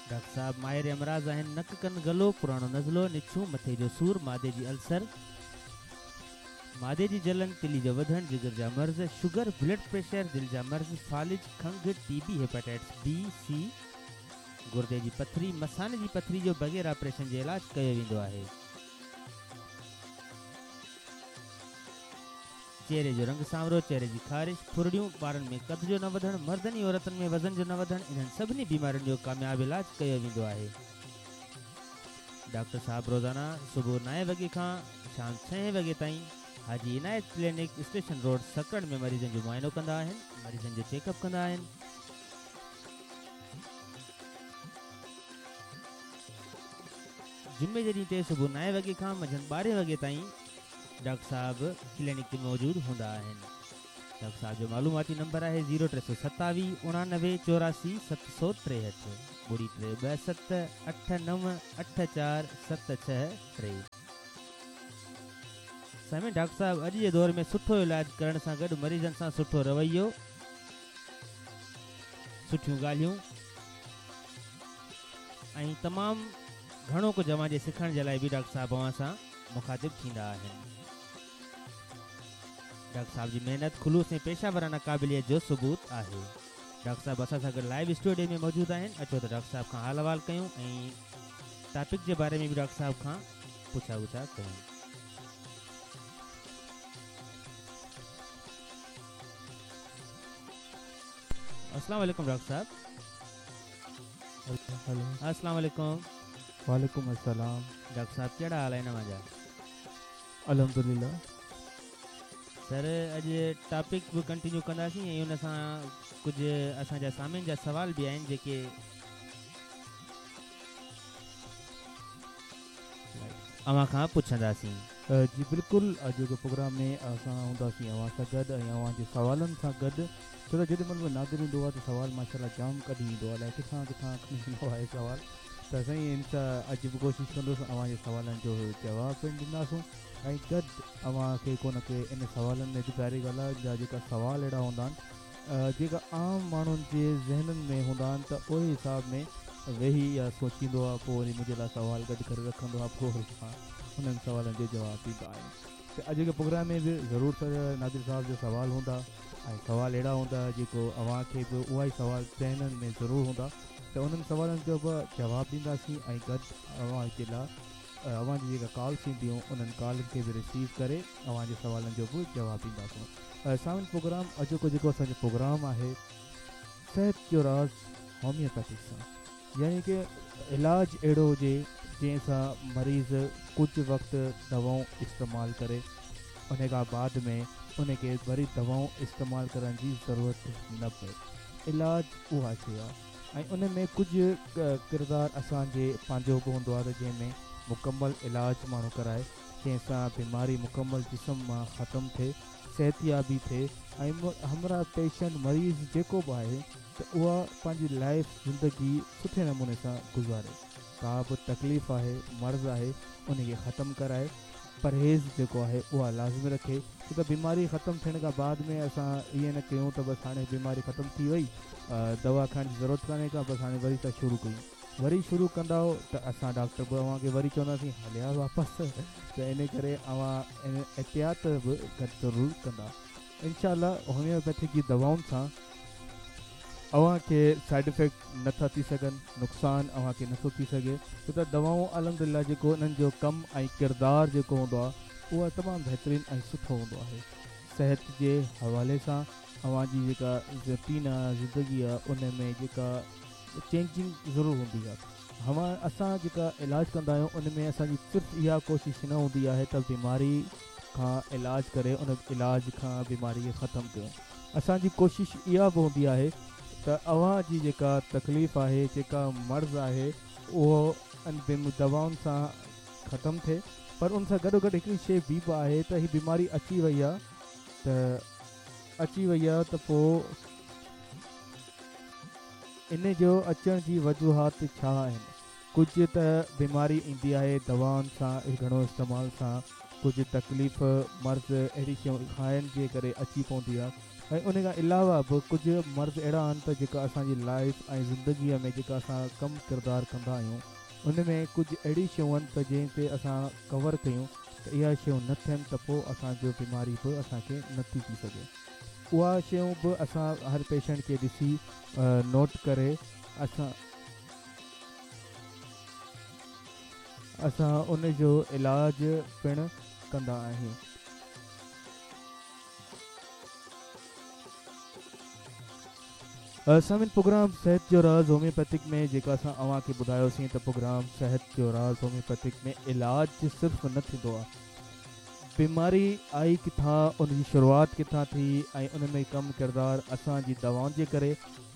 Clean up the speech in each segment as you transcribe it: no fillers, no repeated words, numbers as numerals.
Doctor صاحب ماهر امراض آهن، نڪ، ڪن، گلو، پراڻو نزلو، نڇون، مٿي جو سور، معدي جي السر، معدي جي جلن، تلي جو وڌڻ، جگر جا مرض، شگر، بلڊ پريشر، دل جا مرض، فالج، کنگهه، ٽي بي، هيپاٽائٽس بي، سي، گردي جي پٿري، مثاني جي پٿري جو بغير آپريشن جي علاج ڪيو ويندو آهي. چهري جو رنگ سانورو، چهري جي خارش، ڦرڙيون، ٻارن ۾ قد جو نه وڌڻ، مردن ۽ عورتن ۾ وزن جو نه وڌڻ انهن سڀني بيمارين جو ڪامياب علاج ڪيو ويندو آهي. ڊاڪٽر صاحب روزانه صبح نائين وڳي کان شام ڇهين وڳي تائين Haji Inayat clinic station road Sakrand ۾ مريضن جو معائنو ڪندا آهن، مريضن جو چيڪ اپ ڪندا آهن. جمعي جي ڏينهن تي صبح نائين وڳي کان منجهند ٻارهين وڳي تائين ڊاڪٽر صاحب ڪلينڪ تي موجود هوندا آهن. ڊاڪٽر صاحب جو معلوماتي نمبر آهي زيرو 327 89 84 763 ٻڙي 3 2 7 8 9 8 4 7 6 3. سامعين ڊاڪٽر صاحب اڄ جي دور ۾ سٺو علاج ڪرڻ سان گڏ مريضن سان سٺو رويو، سٺيون ڳالهيون ۽ تمام گهڻو ڪجهه اوهان جي سکڻ جي لاء به ڊاڪٽر صاحب اوهان سان مخاطب ٿيندا آهن. ڊاڪٽر صاحب جي محنت، خلوص ۽ پيشه ورانه قابليت جو ثبوت آهي. ڊاڪٽر صاحب اسان سان گڏ لائيو اسٽوڊيو ۾ موجود آهن. اچو ته ڊاڪٽر صاحب کان حال احوال ڪيون ۽ ٽاپڪ جي باري ۾ به ڊاڪٽر صاحب کان پڇا ڳڇا ڪيون. السلام عليڪم ڊاڪٽر صاحب. هيلو. السلام عليڪم. وعليڪم السلام. ڊاڪٽر صاحب ڪهڙا حال آهن اوهان جا؟ الحمدلله. سر اڄ ٽاپڪ به ڪنٽينيو ڪنداسين ۽ ان سان ڪجهه اسان جا سامعين جا سوال به آهن جيڪي اوهان کان پڇنداسين. جي بلڪل اڄوڪي پروگرام ۾ اسان هونداسين اوهان سان گڏ ۽ اوهان جي سوالن سان گڏ ڇو ته جيڏي مهل به نادر ايندو آهي ته سوال ماشاءالله جام ڪڍي ايندو آهي الائي ڪٿان ڪٿان کڻي ايندو آهي سوال ته سائين ان سان اڄ به ڪوشش ڪندس اوهان جي سوالن جو جواب پڻ ڏينداسون ۽ گڏ اوهان کي ڪو نه ڪي ان سوالن ۾ به ظاهري ڳالهه آهي جا جيڪا سوال اهڙا هوندا آهن جيڪا عام ماڻهن جي ذهنن ۾ هوندا آهن ته اهڙي حساب ۾ ويهي يا سوچيندو آهي پوء وري منهنجي لاء سوال گڏ ڪري رکندو آهي پوء وري مان انهن سوالن جو جواب ڏيندا آهيون ته اڄوڪي پروگرام ۾ به ضرور سر نادر صاحب جا سوال هوندا ۽ سوال اهڙا هوندا جيڪو اوهان کي به اها ئي سوال ذهنن ۾ ضرور هوندا ته انهن سوالن جو به جواب ڏينداسين ۽ گڏ اوهان جي لاء اوهان جي جيڪا ڪالس اينديون انهن ڪالن کي به رسيو ڪري اوهان جي سوالن جو به جواب ڏينداسون. سامعين پروگرام اڄوڪو جيڪو اسان جو پروگرام آهي صحت جو راز هوميوپيٿڪ سان يعني ڪه علاج اهڙو هجي جنهن سان مريض ڪجهه وقت دوائون استعمال ڪري ان کان بعد ۾ ان کي وري دوائون استعمال ڪرڻ جي ضرورت نه پئي علاج اها شيء آهي ۽ ان ۾ ڪجهه ڪردار اسان جي پنهنجو به هوندو آهي ته جنهن ۾ مڪمل علاج ماڻهو ڪرائي جنهن سان بيماري مڪمل جسم مان ختم ٿئي صحتيابي ٿئي ۽ همراهه پيشنٽ مريض جيڪو به آهي ته اها پنهنجي لائيف زندگي سٺي نموني سان گذاري ڪا به تڪليف آهي مرض آهي ان کي ختم ڪرائي پرهيز جيڪو آهي اها لازمي رکي ڇو ته بيماري ختم ٿيڻ کان بعد ۾ اسان ائين نه ڪيون ته بس هاڻي بيماري ختم ٿي وئي دوا کائڻ جي ضرورت ڪانهي ڪا بس هاڻي وري ٿا شروع ڪيون وري شروع ڪندائو ته اسان ڊاڪٽر به اوهان کي وري چونداسين هليا واپس ته ان ڪري اوهان احتياط به گڏ ضرور ڪندا انشاء الله هوميوپيٿڪ جي دوائن سان اوهان کي سائيڊ افيڪٽ نه ٿا ٿي سگهن نقصان اوهان کي نه ٿو ٿي سگهي ڇو ته دوائون الحمدلله جيڪو انهن جو ڪم ۽ ڪردار جيڪو هوندو آهي اهو تمام بهترين ۽ سٺو هوندو آهي صحت جي حوالي سان اوهان جي جيڪا روٽين آهي زندگي آهي ان ۾ جيڪا چينجنگ ضرور هوندي آهي هوان اسان جيڪا علاج ڪندا آهيون ان ۾ اسان جي صرف اها ڪوشش نه هوندي آهي ته بيماري کان علاج ڪري ان علاج کان بيماري کي ختم ڪيون اسان جي ڪوشش اها به هوندي آهي ته اوهان جي جيڪا تڪليف آهي جيڪا مرض آهي اهو ان دوائن سان ختم ٿئي پر ان سان گڏو گڏ هڪڙي شيء ٻي به آهي ته هي بيماري اچي وئي آهي ته اچي وئي آهي ته پوء ان جو اچڻ جي وجوهات ڇا آهن ڪجهه ته بيماري ايندي آهي دوائن سان گهڻو استعمال سان ڪجهه تڪليف مرض اهڙي شيون کائڻ جي ڪري اچي پوندي آهي. ۽ ان کان علاوه به ڪجهه مرض اهڙا آهن ته جيڪا اسان جي لائف ۽ زندگيء ۾ جيڪا اسان ڪم ڪردار ڪندا آهيون ان ۾ ڪجهه اهڙي شيون آهن ته جنهن تي اسان ڪور ڪيون ته اها شيون نه ٿين ته پوء اسان جو بيماري به اسان کي نه ٿي ٿي سگهي اها شيون به اسان هر پيشنٽ کي ڏسي نوٽ ڪري اسان اسان ان جو علاج پڻ ڪندا آهيون. سامعين پروگرام صحت جو راز هوميوپيٿڪ ۾ جيڪا اسان اوهان کي ٻڌايوسين ته پروگرام صحت جو راز هوميوپيٿڪ ۾ علاج صرف نه ٿيندو آهي بيماري آئي ڪٿان ان جي شروعات ڪٿان ٿي ۽ ان ۾ ڪم ڪردار اسان جي دوائن جي ڪري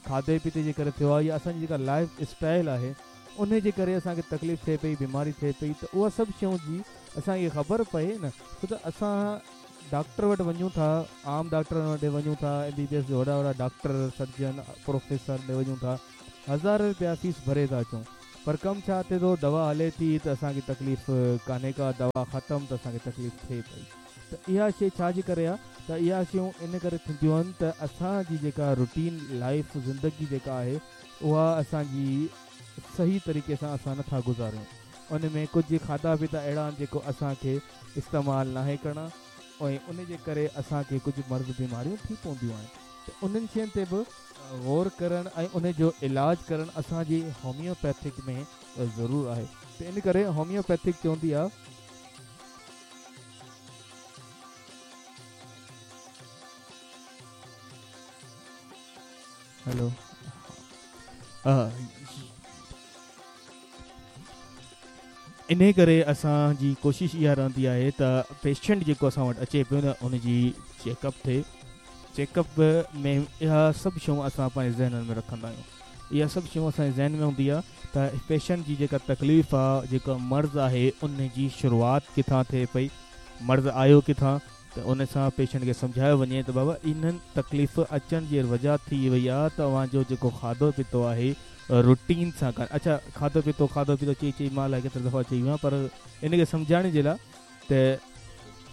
کاڌي پيتي جي ڪري ٿيو آهي يا اسان جي جيڪا لائف اسٽائل آهي ان جي ڪري اسان کي تڪليف ٿئي پئي بيماري ٿئي پئي ته اها سڀ شيون جي اسان کي خبر پئي نه ڇو ته اسان ڊاڪٽر وٽ وڃون ٿا عام ڊاڪٽرن وٽ وڃون ٿا ايم بي بي ايس جا وڏا وڏا ڊاڪٽر سرجن پروفيسر ڏي وڃون ٿا هزارين رپيا فيس ڀري ٿا اچون پر ڪم ڇا ٿئي ٿو دوا هلي ٿي ته اسان کي تڪليف ڪانهي ڪا دوا ختم ته اسان کي تڪليف ٿئي پئي ته اها شي ڇا جي ڪري آ ته اها شيون ان ڪري ٿينديون آهن ته اسان جي جيڪا روٽين لائف زندگي جيڪا آهي اها اسان جي صحيح طريقي سان اسان نٿا گذاريون ان ۾ ڪجهه کاڌا پيتا اهڙا آهن جيڪو اسان کي استعمال ناهي ڪرڻا ۽ ان جي ڪري اسان کي ڪجهه مرض بيماريون ٿي پونديون آهن ته انهن شين تي به غور ڪرڻ ۽ ان جو علاج ڪرڻ اسان جي هوميوپيٿڪ ۾ ضرور آهي ته ان ڪري هوميوپيٿڪ چوندي آ. هلو انهي ڪري اسان جي ڪوشش اها رهندي آهي ته پيشنٽ جيڪو اسان وٽ اچي پيو نه ان جي چيڪ اپ ٿئي چيڪ اپ ۾ اها سڀ شيون اسان پنهنجي ذهنن ۾ رکندا آهيون اها سڀ شيون اسان جي ذهن ۾ هوندي آهي ته پيشنٽ جي جيڪا تڪليف آهي جيڪو مرض آهي ان جي شروعات ڪٿان ٿئي پئي مرض آيو ڪٿان ته ان سان پيشنٽ کي سمجهايو وڃي ته بابا انهن تڪليف اچڻ جي وجه ٿي وئي آ ته اوهان جو جيڪو کاڌو پيتو آهي روٽين سان ڪانه اڇا کاڌو پيتو کاڌو پيتو چئي چئي مان الائي ڪيترا دفعا چئي ويو آهيان پر ان کي سمجهائڻ جي لاء ته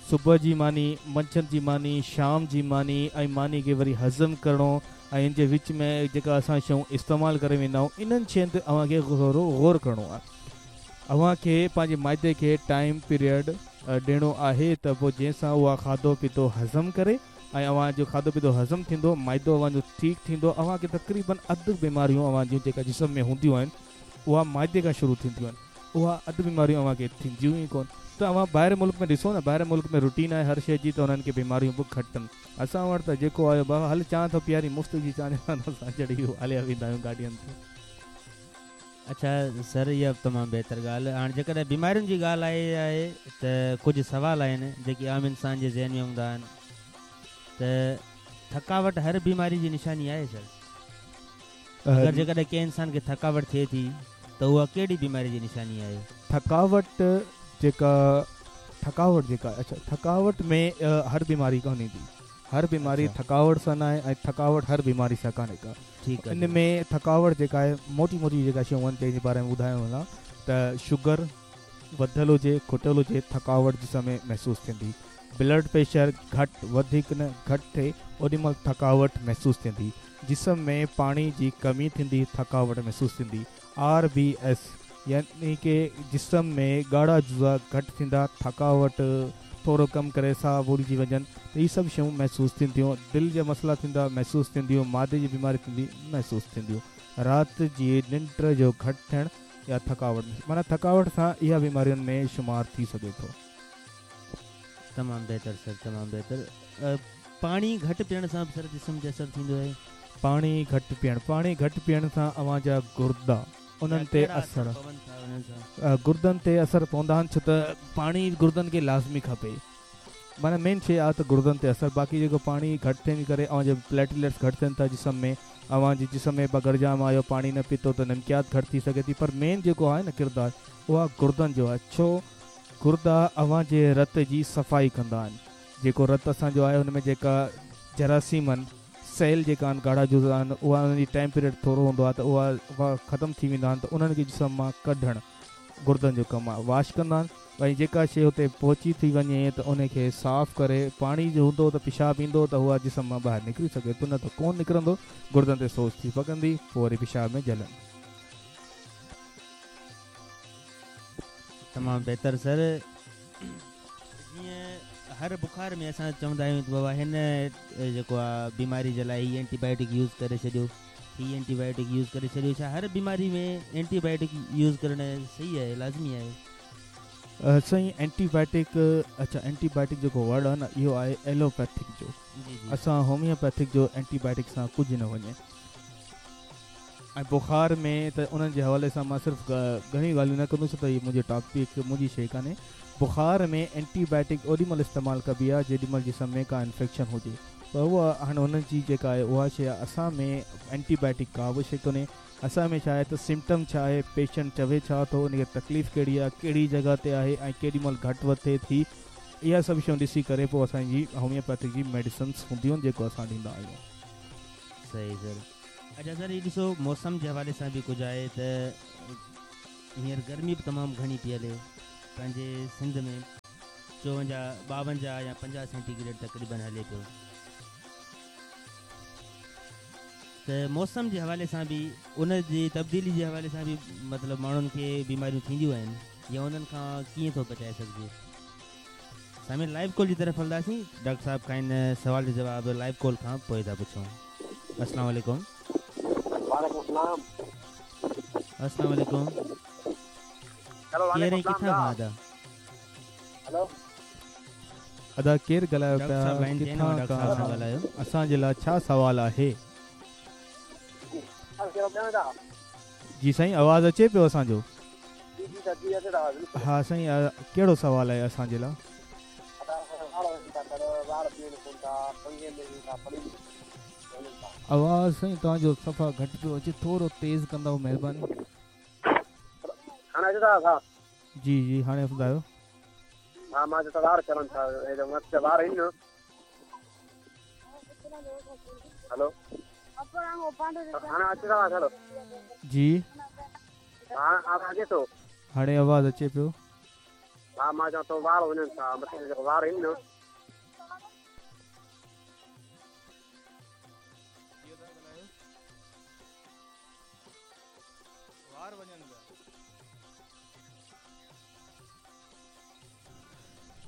صبح جي ماني منجهند جي ماني شام جي ماني ۽ ماني کي وري هضم ڪرڻو ۽ ان جي وچ ۾ جيڪا اسان شيون استعمال ڪري ويندا آهيون انهن شين تي اوهان کي ٿورو غور ڪرڻو آهي اوهان کي پنهنجي معدي کي ٽائيم پيريڊ ڏيڻو آهي ته پوء جنهن سان اها کاڌو پيتو هضم ڪري ۽ اوهان جو کاڌو پيتو هضم ٿيندو معدو اوهان جو ٺيڪ ٿيندو اوهان کي تقريبن اڌ بيماريون اوهان جون جيڪا جسم ۾ هونديون آهن اها معدي کان شروع ٿينديون آهن اها اڌ بيماريون اوهان کي ٿينديون ئي ڪون ته اوهان ٻاهر ملڪ ۾ ڏسو نه ٻاهر ملڪ ۾ روٽين آهي هر شيء جي ته انهن کي بيماريون به گهٽ آهن اسان وٽ ته جيڪو آيو بابا هل چانهه ٿو پيارين مفت جي چانهه اسان چڙهي هليا ويندا آهيون گاڏين تي. اڇا سر اها به تمام بهتر ڳالهه هاڻ جيڪڏهن بيمارين جي ڳالهه آئي آهي ته ڪجهه سوال آهن جيڪي عام انسان جي ذهن ۾ هوندا آهن ته ٿڪاوٽ هر بيماري جي نشاني آهي سر اگر جيڪڏهن ڪنهن انسان کي ٿڪاوٽ ٿئي ٿي ته اها ڪهڙي بيماري جي نشاني آهي؟ ٿڪاوٽ جيڪا ٿڪاوٽ جيڪا اڇا ٿڪاوٽ ۾ هر بيماري ڪانه ايندي هر بيماري ٿڪاوٽ سان ناهي ۽ ٿڪاوٽ هر بيماري سان ڪانهي ڪا. ان ۾ ٿڪاوٽ جيڪا آهي موٽي موٽي جيڪا شيون آهن جنهن جي باري ۾ ٻڌايو وڃان ته شگر وڌل هجي کٽل هجي ٿڪاوٽ جسم ۾ محسوس ٿيندي بلڊ پريشر گهٽ وڌيڪ نه گهٽ ٿئي اوڏي مهل ٿڪاوٽ محسوس ٿيندي جسم ۾ پاڻي جي ڪمي ٿيندي ٿڪاوٽ محسوس ٿيندي آر بي ايس يعني ڪي جسم ۾ ڳاڙها جزا گهٽ ٿيندا، ٿڪاوٽ، ٿورو ڪم ڪري ساهه ڀرجي وڃن ته هي سڀ شيون محسوس ٿينديون، دل جا مسئلا ٿيندا محسوس ٿينديون، معدي جي بيماري ٿيندي محسوس ٿينديون، رات جي ننڊ جو گهٽ ٿيڻ يا ٿڪاوٽ معنيٰ ٿڪاوٽ سان اها بيمارين ۾ شمار ٿي سگهي ٿو. تمام بهتر سر تمام بهتر پاڻي گهٽ پيئڻ سان به سر جسم تي اثر ٿيندو آهي. پاڻي گهٽ پيئڻ پاڻي گهٽ پيئڻ سان اوهان جا گردا انهن تي اثر گردن تي اثر پوندا آهن ڇو ته پاڻي گردن کي لازمي کپي معنيٰ مين شي آهي ته گردن تي اثر باقي جيڪو پاڻي گهٽ ٿيڻ جي ڪري اوهان جا پليٽليٽس گهٽ ٿين ٿا جسم ۾ اوهان جي جسم ۾ اگر جام آيو پاڻي نه پيتو ته نمڪيات گهٽ ٿي سگهي ٿي پر مين جيڪو آهي نه ڪردار اها گردن جو آهي ڇو گردا اوهان جي رت جي صفائي ڪندا آهن جيڪو رت اسان جو آهي ان ۾ جيڪا جراثيم آهن سيل جيڪا آهن ڳاڙها جزا آهن اها انهن جي ٽائيم پيريڊ ٿورو هوندو آهي ته اها ختم ٿي ويندا آهن ته انهن کي جسم مان ڪڍڻ گردن جو ڪم آهي واش ڪندا آهن ڀئي جيڪا شيء اتي پهچي ٿي وڃي ته ان کي صاف ڪري پاڻي جو هوندو ته پيشاب ايندو ته اها جسم مان ٻاهر نڪري سگهي ٿو نه ته ڪونه نڪرندو گردن تي سوز ٿي پوندي پوء وري پيشاب ۾ جلن. تمام بهتر سر جيئن هر بخار ۾ اسان چوندا آهيون ته بابا هن جيڪو آ بيماري جي لاء هي اينٽي بايوٽڪ يوز ڪري ڇڏيو هي اينٽي بايوٽڪ يوز ڪري ڇڏيو ڇا هر بيماري ۾ اينٽي بايوٽڪ يوز ڪرڻ صحيح آهي لازمي آهي؟ سائين اينٽي بايوٽڪ اڇا اينٽي بايوٽڪ جيڪو ورڊ آهي نه اهو آهي ايلوپيٿڪ جو جي جي اسان هوميوپيٿڪ جو اينٽي بايوٽڪ سان ڪجهه نه وڃي ۽ بخار ۾ ته انهن جي حوالي سان مان صرف گهڻيون ڳالهيون نه ڪندس ته هي منهنجو ٽاپڪ منهنجي شيء ڪانهي بخار ۾ اينٽي بايوٽڪ اوڏي مهل استعمال ڪبي آهي جيڏي مهل جسم ۾ ڪا انفيڪشن هجي پر اها هاڻي انهن جي جيڪا آهي اها شيء آهي اسان ۾ اينٽي بايوٽڪ ڪا به شيء ڪونهي اسان ۾ ڇا آهي ته سمپٽم ڇا آهي پيشنٽ چوي ڇا ٿو ان کي تڪليف ڪهڙي آهي ڪهڙي جڳهه تي آهي ۽ ڪيڏي مهل گهٽ وڌ ٿئي ٿي اها سڀ شيون ڏسي ڪري پوء اسان جي هوميوپيٿڪ جي ميڊيسنس هونديون آهن جيڪو اسان ڏيندا آهيون. صحيح سر اڇا سر هي ڏسو موسم جي حوالي سان به ڪجهه آهي ته هينئر گرمي به تمام گهڻي پئي هلي پنهنجي سنڌ ۾ چوونجاهه ٻاونجاهه يا پنجاهه سينٽي گريڊ تقريبن هلي پيو ته موسم جي حوالي سان به ان جي تبديلي جي حوالي سان به مطلب ماڻهن کي بيماريون ٿينديون آهن يا انهن کان ڪيئن ٿو بچائي سگهجي سامعين لائيو ڪال جي طرف هلنداسين ڊاڪٽر صاحب کان ان سوال جو جواب لائيو ڪال کان پوء ٿا پڇون السلام عليڪم. وعليڪم السلام. السلام عليڪم. هيلو ڪير وعليڪم ۽ السلام ڪٿان کان دا. ادا؟ هيلو. ادا ڪير ڳالهايو ڊاڪٽر پيا صاحب لائين تي آهن ڪٿان ڊاڪٽر صاحب سان کان ڳالهايو. اسان جي لاء ڇا سوال آهي. جي سائين آواز اچي پيو اسان جو. جي جي سر جي اچي ٿو آواز بلڪل. ها سائين ڪهڙو سوال آهي اسان جي لاء. ادا وار وڃن ٿا سر وار بيهن ڪون ٿا ڪنگي ۾ وڃن ٿا پڙي وڃن ٿا. آواز سائين توهان جو صفا گهٽ پيو اچي ٿورو تيز ڪندؤ مهرباني. هاڻي اچي ٿو آواز. جي جي هاڻي ٻڌايو. ها مان چيو ته وار ڪرن ٿا مٿي وار آهن نه. هيلو هاڻي اچي ٿو آواز هيلو. جي. هاڻي آواز اچي ٿو. هاڻي آواز اچي پيو. ها مان چوان ٿو وار وڃن ٿا مٿي جيڪو وار آهن نه. وار وڃن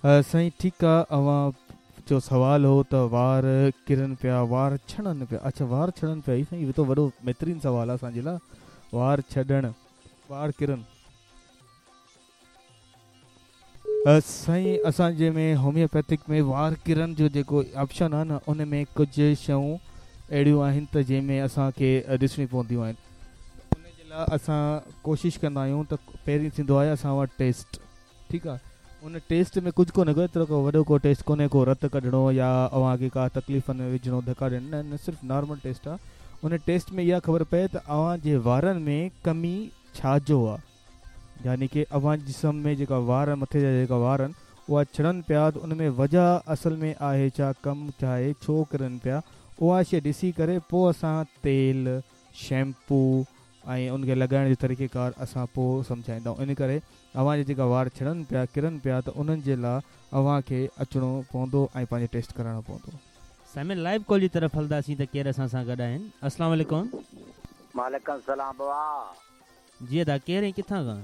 پيا. سائين ٺيڪ آ اوهان جو سوال هو ته وار ڪرن پيا وار ڇڻن پيا اڇا وار ڇڻن پيا هي سائين هي ته وڏو بهترين سوال آ اسان جي لا وار ڇڏڻ وار ڪرن. سائين اسان جي ۾ هوميوپيٿڪ ۾ وار ڪرن جو جيڪو آپشن آ نه ان ۾ ڪجهه شيون اهڙيون آهن ته جنهن ۾ اسان کي ڏسڻيون پونديون آهن ان جي لاء اسان ڪوشش ڪندا آهيون ته پهرين ٿيندو آهي اسان وٽ ٽيسٽ ٺيڪ آ ان ٽيسٽ ۾ ڪجهه ڪونهي ڪو ايترو ڪو وڏو ڪو ٽيسٽ ڪونهي ڪو رت ڪڍڻو يا اوهان کي ڪا تڪليفن ۾ وجهڻو ڌڪا ڏيڻ نه نه صرف نارمل ٽيسٽ آ ان ٽيسٽ ۾ اها خبر پئي ته اوهان جي وارن ۾ ڪمي ڇا جو آ يعني ڪي اوهان جي جسم ۾ جيڪا وار مٿي جا جيڪا وار آهن اها ڇڻن پيا ته ان ۾ وجه اصل ۾ آهي ڇا ڪم ڇا آهي ڇو ڪرن پيا اها شي ڏسي ڪري پو اسان تيل شيمپو ۽ ان کي لڳائڻ جو طريقي ڪار اسان پو سمجهائيندا آهيون ان ڪري اوهان جا جيڪا وار ڇڻن پيا ڪرن پيا ته انهن جي لا اوهان کي اچڻو پوندو ۽ پنهنجو ٽيسٽ ڪرائڻو پوندو. سامعين لائيو ڪال جي طرف هلنداسين ته ڪير اسان سان گڏ آهن السلام عليڪم. وعليڪم السلام بابا. جي ادا ڪير ۽ ڪٿان کان.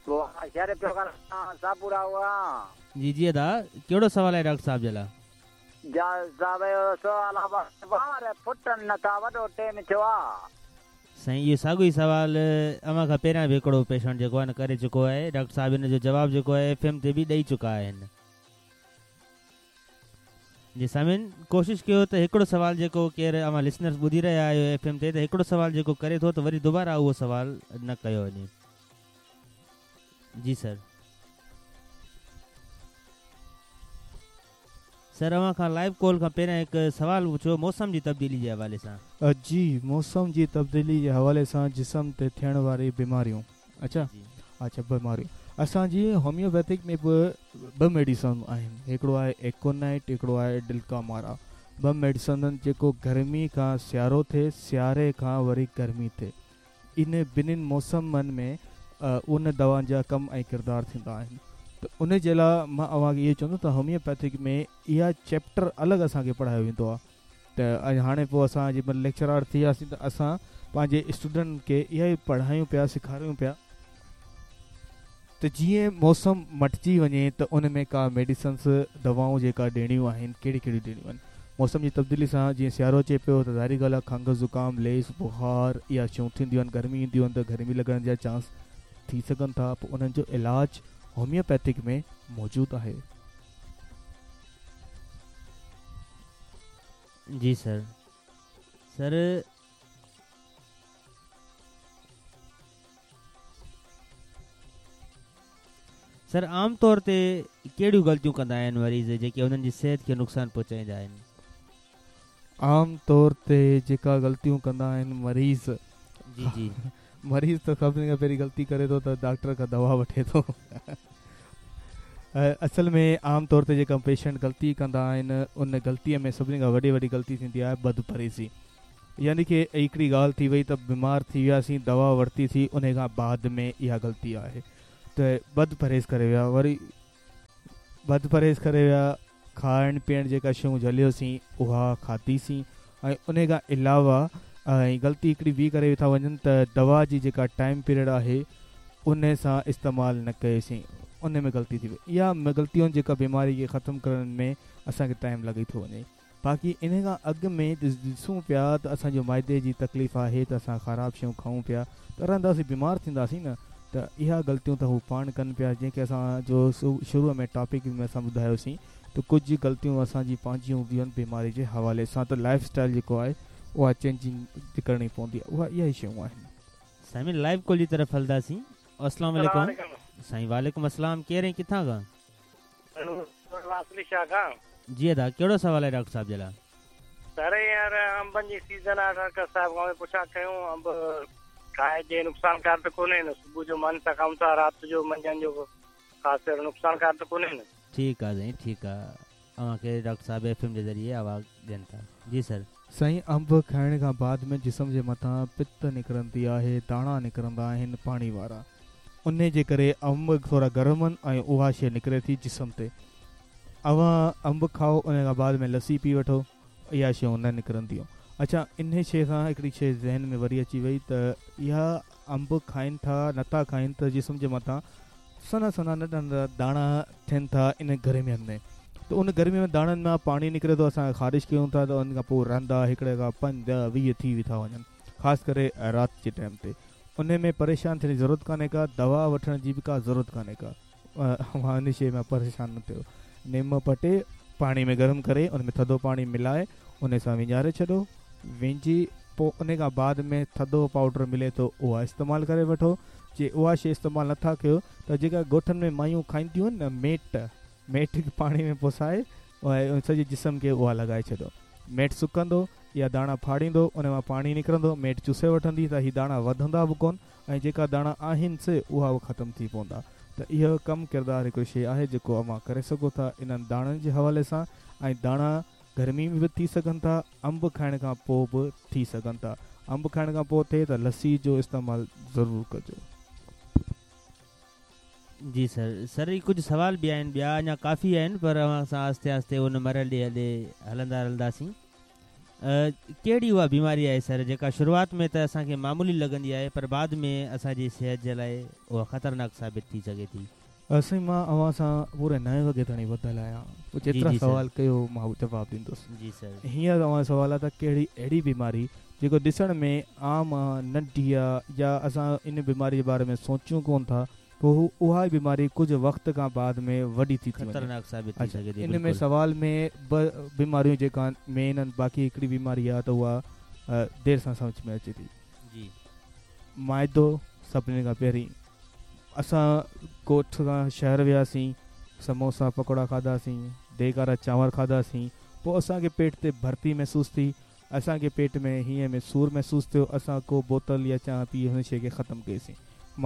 بابا شهر پيو ڳالهايان شاهپورا کان. جي جي ادا ڪهڙو سوال آهي ڊاڪٽر صاحب جي لا. جا صاحب اهو سوال آ وار ڦٽن نٿا وڏو ٽيم ٿيو آ. سائين اهو ساڳيو ئي سوال اوهان کان پهريان به هڪڙو پيشنٽ جيڪو آهي نه ڪري چڪو آهي ڊاڪٽر صاحب ان جو جواب جيڪو آهي ايف ايم تي به ڏئي چڪا آهن. جي سامعين ڪوشش ڪيو ته هڪڙو سوال جيڪو ڪير اوهان لسنرز ٻڌي رهيا آهيو ايف ايم تي ته هڪڙو سوال جيڪو ڪري ٿو ته وري دوباره اهو سوال نه ڪيو وڃي. جي سر. سر اوهان کان لائيو ڪال کان پهريان هڪ سوال پڇيو موسم جي تبديلي جي حوالي سان. جي موسم جي تبديلي جي حوالي سان جسم تي ٿيڻ واري بيماريون اڇا اڇا بيماريون اسان جي هوميوپيٿڪ ۾ به ٻه ميڊيسن آهن هڪڙو آهي ايڪونائٽ هڪڙو آهي ڊلڪامارا ٻه ميڊيسن جيڪو گرمي کان سيارو ٿئي سياري کان وري گرمي ٿئي ان ٻنهين موسمن ۾ ان دوائن جا ڪم ۽ ڪردار ٿيندا آهن. ته ان جي لاء مان اوهان کي اهو چوندس ته هوميوپيٿڪ ۾ اها چيپٽر الڳ اسان کي پڙهايو ويندو آهي ته ۽ هاڻي پوء اسان جنهن مهل ليڪچرار ٿي وياسين ته اسان پنهنجي اسٽوڊنٽن کي اها ئي پڙهايون پيا سيکاريون پيا ته جيئن موسم مٽجي وڃي ته ان ۾ ڪا ميڊيسنس، دوائون، جيڪا ڏيڻيون آهن ڪهڙيون ڪهڙيون ڏيڻيون آهن. موسم جي تبديلي سان جيئن سيارو اچي پيو ته ظاهري ڳالهه آهي کنگهه، زڪام، ليس، بخار اها شيون ٿينديون آهن، گرمي اينديون آهن ته گرمي لڳڻ جا چانس ٿي سگهن ٿا پوء انهن جو علاج هوميوپيٿڪ ۾ موجود آهي. جي سر سر. سر عام طور تي ڪهڙيون غلطيون ڪندا آهن مريض جيڪي انهن جي صحت کي نقصان پهچائيندا آهن؟ عام طور تي جيڪا غلطيون ڪندا آهن مريض جي جي مريض ته سڀني کان پهرين غلطي ڪري ٿو ته ڊاڪٽر کان دوا وٺي ٿو اصل ۾ عام طور تي جيڪا پيشنٽ غلطي ڪندا آهن ان غلطي ۾ سڀني کان وڏي وڏي غلطي ٿيندي آهي بدپرهيزي يعني ڪي هڪڙي ڳالهه ٿي وئي ته بيمار ٿي وياسين دوا ورتي سين انهي کان بعد ۾ اها غلطي آهي ته بد پرهيز ڪري ويا وري بد پرهيز ڪري ويا کائڻ پيئڻ جيڪا شيون جهليوسين اها کاڌي سين ۽ انهي کان علاوه ۽ غلطي هڪڙي ٻي ڪري ٿا وڃن ته دوا جي جيڪا ٽائيم پيريڊ آهي انهي سان استعمال نه ڪئي سين انهي ۾ غلطي ٿي وئي اها غلطيون جيڪا بيماري کي ختم ڪرڻ ۾ اسان کي ٽائيم لڳي ٿو وڃي. باقي انهي کان اڳ ۾ ڏسون پيا ته اسان جو معدي جي تڪليف آهي ته اسان خراب شيون کائون پيا ته رهنداسين بيمار ٿينداسين نه ته اها غلطيون ته هو پاڻ ڪن پيا جنهن کي اسان جو شروع ۾ ٽاپڪ ۾ اسان ٻڌايوسين ته ڪجهه غلطيون اسان جي پنهنجيون هونديون آهن بيماري جي حوالي سان ته لائف اسٽائل جيڪو آهي اها چينجنگ ڪرڻي پوندي آهي اها اها ئي شيون آهن. سائين لائيو ڪال جي طرف هلنداسين اسلام عليڪم سائين وعليڪم السلام ڪير ۽ ڪٿان کان. واصلي شاهه کان. جي ادا ڪهڙو سوال آهي ڊاڪٽر صاحب جي لاء. سر هينئر انبن جي سيزن آهي ڊاڪٽر صاحب کان پڇا ڪيون انب کائجي نقصانڪار ته ڪونهي نه صبح جو ماني سان کائون ٿا رات جو منجهند جو خاص اهڙو نقصانڪار ته ڪونهي نه. ٺيڪ آ سائين ٺيڪ آ اوهان کي ڊاڪٽر صاحب ايف ايم جي ذريعي آواز ڏين ٿا جي سر. سائين انب کائڻ کان بعد ۾ جسم جي مٿان پت نڪرندي آهي داڻا نڪرندا آهن پاڻي وارا انهي جي ڪري انب ٿورا گرم آهن ۽ اها شيء نڪري ٿي جسم تي اوهان انب کائو انهي کان بعد ۾ لسي پي وٺو اها شيون نه نڪرنديون اڇا انهي شيء سان هڪڙي شيء ذهن ۾ وري اچي وئي ته اها انب کائن ٿا نٿا کائن ته جسم جي مٿان سنها سنها ننڍا ننڍا داڻا ٿين ٿا ان گرمين ۾ ته ان گرمي ۾ داڻن مان پاڻي نڪري ٿو اسان خارش ڪيون ٿا ته ان کان پوء رهندا هڪڙي کان پنج 20 ٿي ٿا وڃن خاص ڪري رات جي ٽائيم تي انهي ۾ پريشان ٿيڻ جي ضرورت ڪانهي ڪا دوا وٺڻ جي به ڪا ضرورت ڪانهي ڪا اوهان ان شيء مان پريشان نه ٿيو نم پٽي پاڻي ۾ گرم ڪري ان ۾ ٿڌو پاڻي ملائي انهي سان وهنجاري ڇڏو وهنجي پوء انهي کان بعد ۾ ٿڌو پائوڊر ملي ٿو اها استعمال ڪري وٺو جي اها شيء استعمال نٿا ڪيو ته جيڪا ڳوٺن ۾ مايون کائينديون آهن نه ميٽ ميٽ کي پاڻي ۾ پسائي ۽ سڄي جسم کي اها لڳائي ڇڏو ميٽ سڪندو يا داڻا ڦاڙيندو ان مان پاڻي نڪرندو ميٽ چوسي وٺندي ته هي داڻا وڌندا به ڪون ۽ جيڪا داڻا آهن سي اها به ختم ٿي پوندا ته اهو ڪم ڪردار هڪڙو شيء آهي جيڪو اوهان ڪري سگهو ٿا انهن داڻن جي حوالي سان ۽ داڻا گرمي ۾ به ٿي سگهن ٿا انب کائڻ کان پوء به ٿي سگهن ٿا انب کائڻ کان پوء ٿئي ته لسي جو استعمال ضرور ڪجو. جي سر سر هي ڪجهه سوال به آهن ٻيا اڃا ڪافي آهن پر اوهان سان آهستي آهستي ان مرحلي ڏي هلندا رهنداسين ڪهڙي اها بيماري آهي سر جيڪا شروعات ۾ ته اسان کي معمولي لڳندي آهي پر بعد ۾ اسان جي صحت جي لاء اها خطرناڪ ثابت ٿي سگهي ٿي. سائين مان اوهان سان پوري نائين وڳي تائين ٻڌل آهيان پوء جي جيترا جي سر. سوال ڪيو مان جواب ڏيندس. جي سر. هينئر اوهان جو سوال آهي ته ڪهڙي اهڙي بيماري جيڪو ڏسڻ ۾ عام آ ننڍي آ يا اسان ان بيماري جي باري ۾ سوچيون ڪون ٿا پوء هو اها ئي بيماري ڪجهه وقت کان بعد ۾ وڏي ٿي ٿي وڃي. خطرناڪ ثابت ٿي اڇا سگهي ٿي ان ۾ بلڪل. سوال ۾ ٻه بيماريون جيڪا مين آهن باقي هڪڙي بيماري آ ته اها دير سان سمجهه ۾ اچي ٿي. جي. معدو سڀني کان پهرين اسان ڳوٺ کان شهر وياسين سموسا پڪوڙا کاڌاسين ديڳ وارا چانور کاڌاسين پوء اسان کي پيٽ تي ڀرتي محسوس ٿي اسان کي پيٽ ۾ هينئين ۾ سور محسوس ٿيو اسان ڪو بوتل يا چانهه پي هن شيء کي ختم ڪئيسين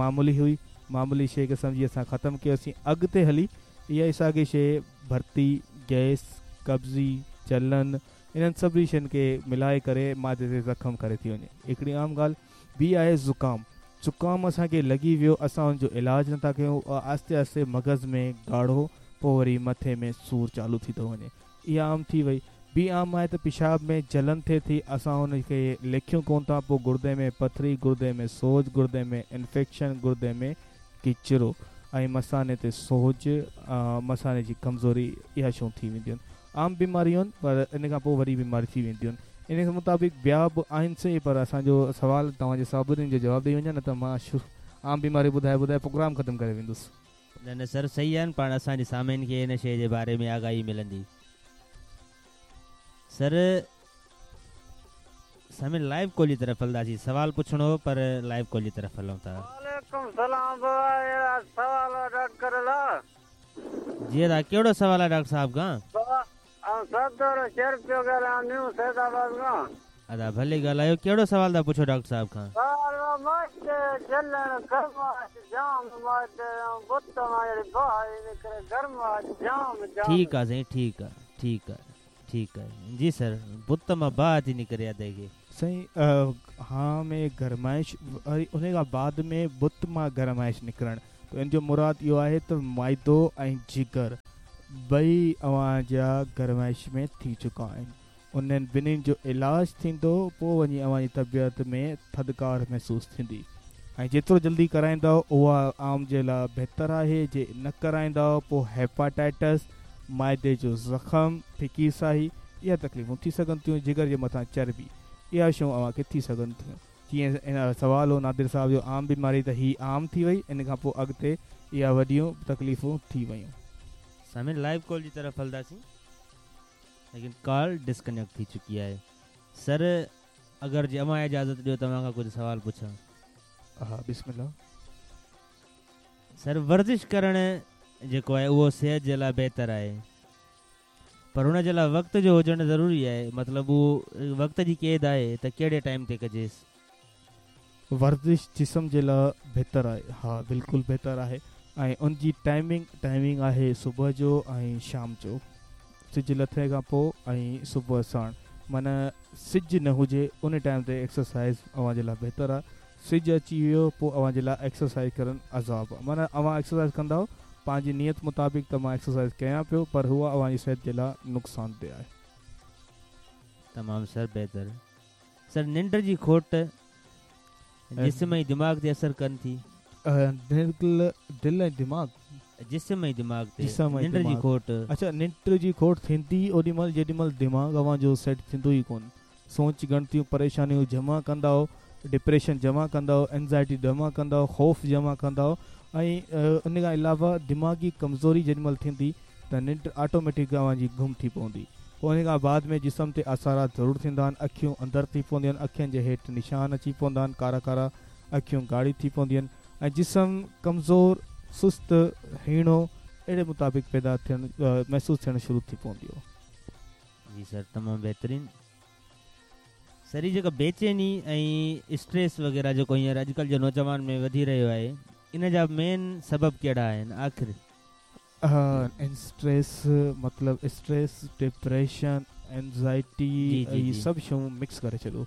معمولي هئي معمولي شيء کي سمجهي اسان ختم ڪيوسين اڳتي هلي اها ئي ساڳي شيء ڀرتي گئس قبضي جلن انهن سڀني شين کي ملائي ڪري معدي تي زخم ڪري ٿي وڃي هڪڙي عام ڳالهه ٻي آهي زڪام. زڪام اسان کي لڳي ويو اسان ان جو علاج نٿا ڪيون آهستي آهستي مغز ۾ ڳاڙهو پوء وري مٿي ۾ سور چالو ٿي ٿو وڃي اها عام ٿي وئي. ٻي عام آهي ته پيشاب ۾ جلن ٿئي ٿي اسان ان کي ليکيون ڪونه ٿا پوء گردي ۾ پٿري، گردي ۾ سوج، گردي ۾ انفيڪشن، گردي ۾ ڪچرو ۽ مثاني تي سوج، مثاني جي ڪمزوري اها شيون ٿي وينديون آهن. عام بيماريون آهن پر ان کان پوء وري بيماري ٿي وينديون آهن. ان مطابق ٻيا به آهن سهي پر اسان جو سوال توهان جي سڀني جو جواب ڏئي وڃان نه ته مان عام بيماري ٻڌائي ٻڌائي پروگرام ختم ڪري ويندس. نه نه سر صحيح آهن پاڻ اسان جي سامعين کي ان شيء جي باري ۾ آگاهي ملندي سر سامعين لائيو ڪال جي طرف هلنداسين سوال پڇڻو هو پر لائيو ڪال جي طرف هلون ٿا. وعليڪم سلام بابا اهڙا سوال آ ڊاڪٽر لا. جي ادا ڪهڙو سوال آ ڊاڪٽر صاحب کان. بابا آئون صدر شير پيو ڳالهايان نيو سيد آباد کان. ادا ڀلي ڳالهايو ڪهڙو سوال ٿا پڇو ڊاڪٽر صاحب کان. سوال اهو ماچ جلڻ گرماش جام ماچ ۽ بت مان جهڙي باهه ٿي نڪري گرماش جام جام. ٺيڪ آ سائين ٺيڪ آ ٺيڪ آ ٺيڪ آ جي سر بت مان باهه ٿي نڪري ادي کي. سائين هانء ۾ گرمائش وري انهي کان بعد ۾ بت مان گرمائش نڪرڻ ته ان جو مراد اهو آهي ته معدو ۽ جگر ٻئي اوهان جا گرمائش ۾ ٿي چڪا آهن. انهن ٻنهين جو علاج ٿيندو پوء وڃي اوهان جي طبيعت ۾ ٿڌڪار محسوس ٿيندي ۽ جيترو جلدي ڪرائيندؤ اها عام جي لاء بهتر آهي جي نه ڪرائيندؤ پوء هيپاٽائٽس، معدي جو زخم، ڦڪي ساهي اها تڪليفون ٿي سگهن ٿيون جگر جي مٿان چرٻي اها شيون اوهان کي ٿي سگهن ٿيون. جيئن هن سوال هو نادر صاحب جو عام بيماري ته هي عام ٿي وئي ان کان پوء اڳتي اها وڏيون تڪليفون ٿي ويون. سامعين لائيو ڪال جي طرف هلنداسين ليڪن ڪال ڊسڪنيڪٽ ٿي چڪي آهي سر اگر جي اوهان اجازت ڏيو ته اوهان کان ڪجهه سوال پڇان. ها بسم الله. سر ورزش ڪرڻ جيڪو آهي اهو صحت جي لاء بهتر آهي پر ان جي لاء وقت جو هجڻ ضروري آهي مطلب اهو وقت جي قيد آهي ته ڪهڙي ٽائيم تي ڪجيس. ورزش جسم جي لاء بهتر آهي ها بلڪل بهتر آهي ۽ ان جي ٽائمنگ ٽائمنگ آهي صبح جو ۽ شام جو سج لٿي کان پوء ۽ صبح ساڻ معنيٰ سج نه هجي ان ٽائيم تي ايڪسرسائز اوهان جي لاء بهتر آهي سج اچي ويو پوء اوهان جي لاء ايڪسرسائز ڪرڻ عذاب آهي معنيٰ اوهان ايڪسرسائز ڪندؤ پنهنجي نيت مطابق ته مان ايڪسرسائز ڪيان پيو پر اها اوهان جي صحت جي لاء نقصان ده آهي. تمام سر بهتر. سر ننڊ جي کوٽ جسم ۽ دماغ تي اثر ڪن ٿي. دل ۽ دماغ. جسم ۽ دماغ تي ننڊ جي کوٽ. اڇا ننڊ جي کوٽ ٿيندي اوڏي مهل جيڏي مهل دماغ اوهان جو سيٽ ٿيندو ئي ڪونه. سوچ ڳڻتيون پريشانيون جمع ڪندؤ، ڊپريشن جمع ڪندؤ، اينزائٽي جمع ڪندؤ، خوف جمع ڪندؤ ۽ ان کان علاوه دماغي ڪمزوري جيڏي مهل ٿيندي ته ننڊ آٽوميٽڪ اوهان جي گم ٿي پوندي. پوء ان کان بعد ۾ جسم تي اثرات ضرور ٿيندا آهن، اکيون اندر ٿي پونديون آهن، اکين جي هيٺ نشان اچي پوندا آهن، ڪارا ڪارا اکيون ڳاڙهي ٿي پونديون آهن ۽ جسم ڪمزور، سست، هيڻو اهڙي مطابق پيدا ٿيڻ محسوس ٿيڻ شروع ٿي پونديون. جي سر تمام بهترين. سر هي جيڪا بيچيني ۽ اسٽريس وغيره جيڪو هينئر اڄڪلهه جي نوجوان ۾ وڌي رهيو آهي ان جا مين سبب ڪهڙا آهن آخر؟ اسٽريس مطلب اسٽريس ڊپريشن اينزائٽي هي سڀ شيون مڪس ڪري ڇڏو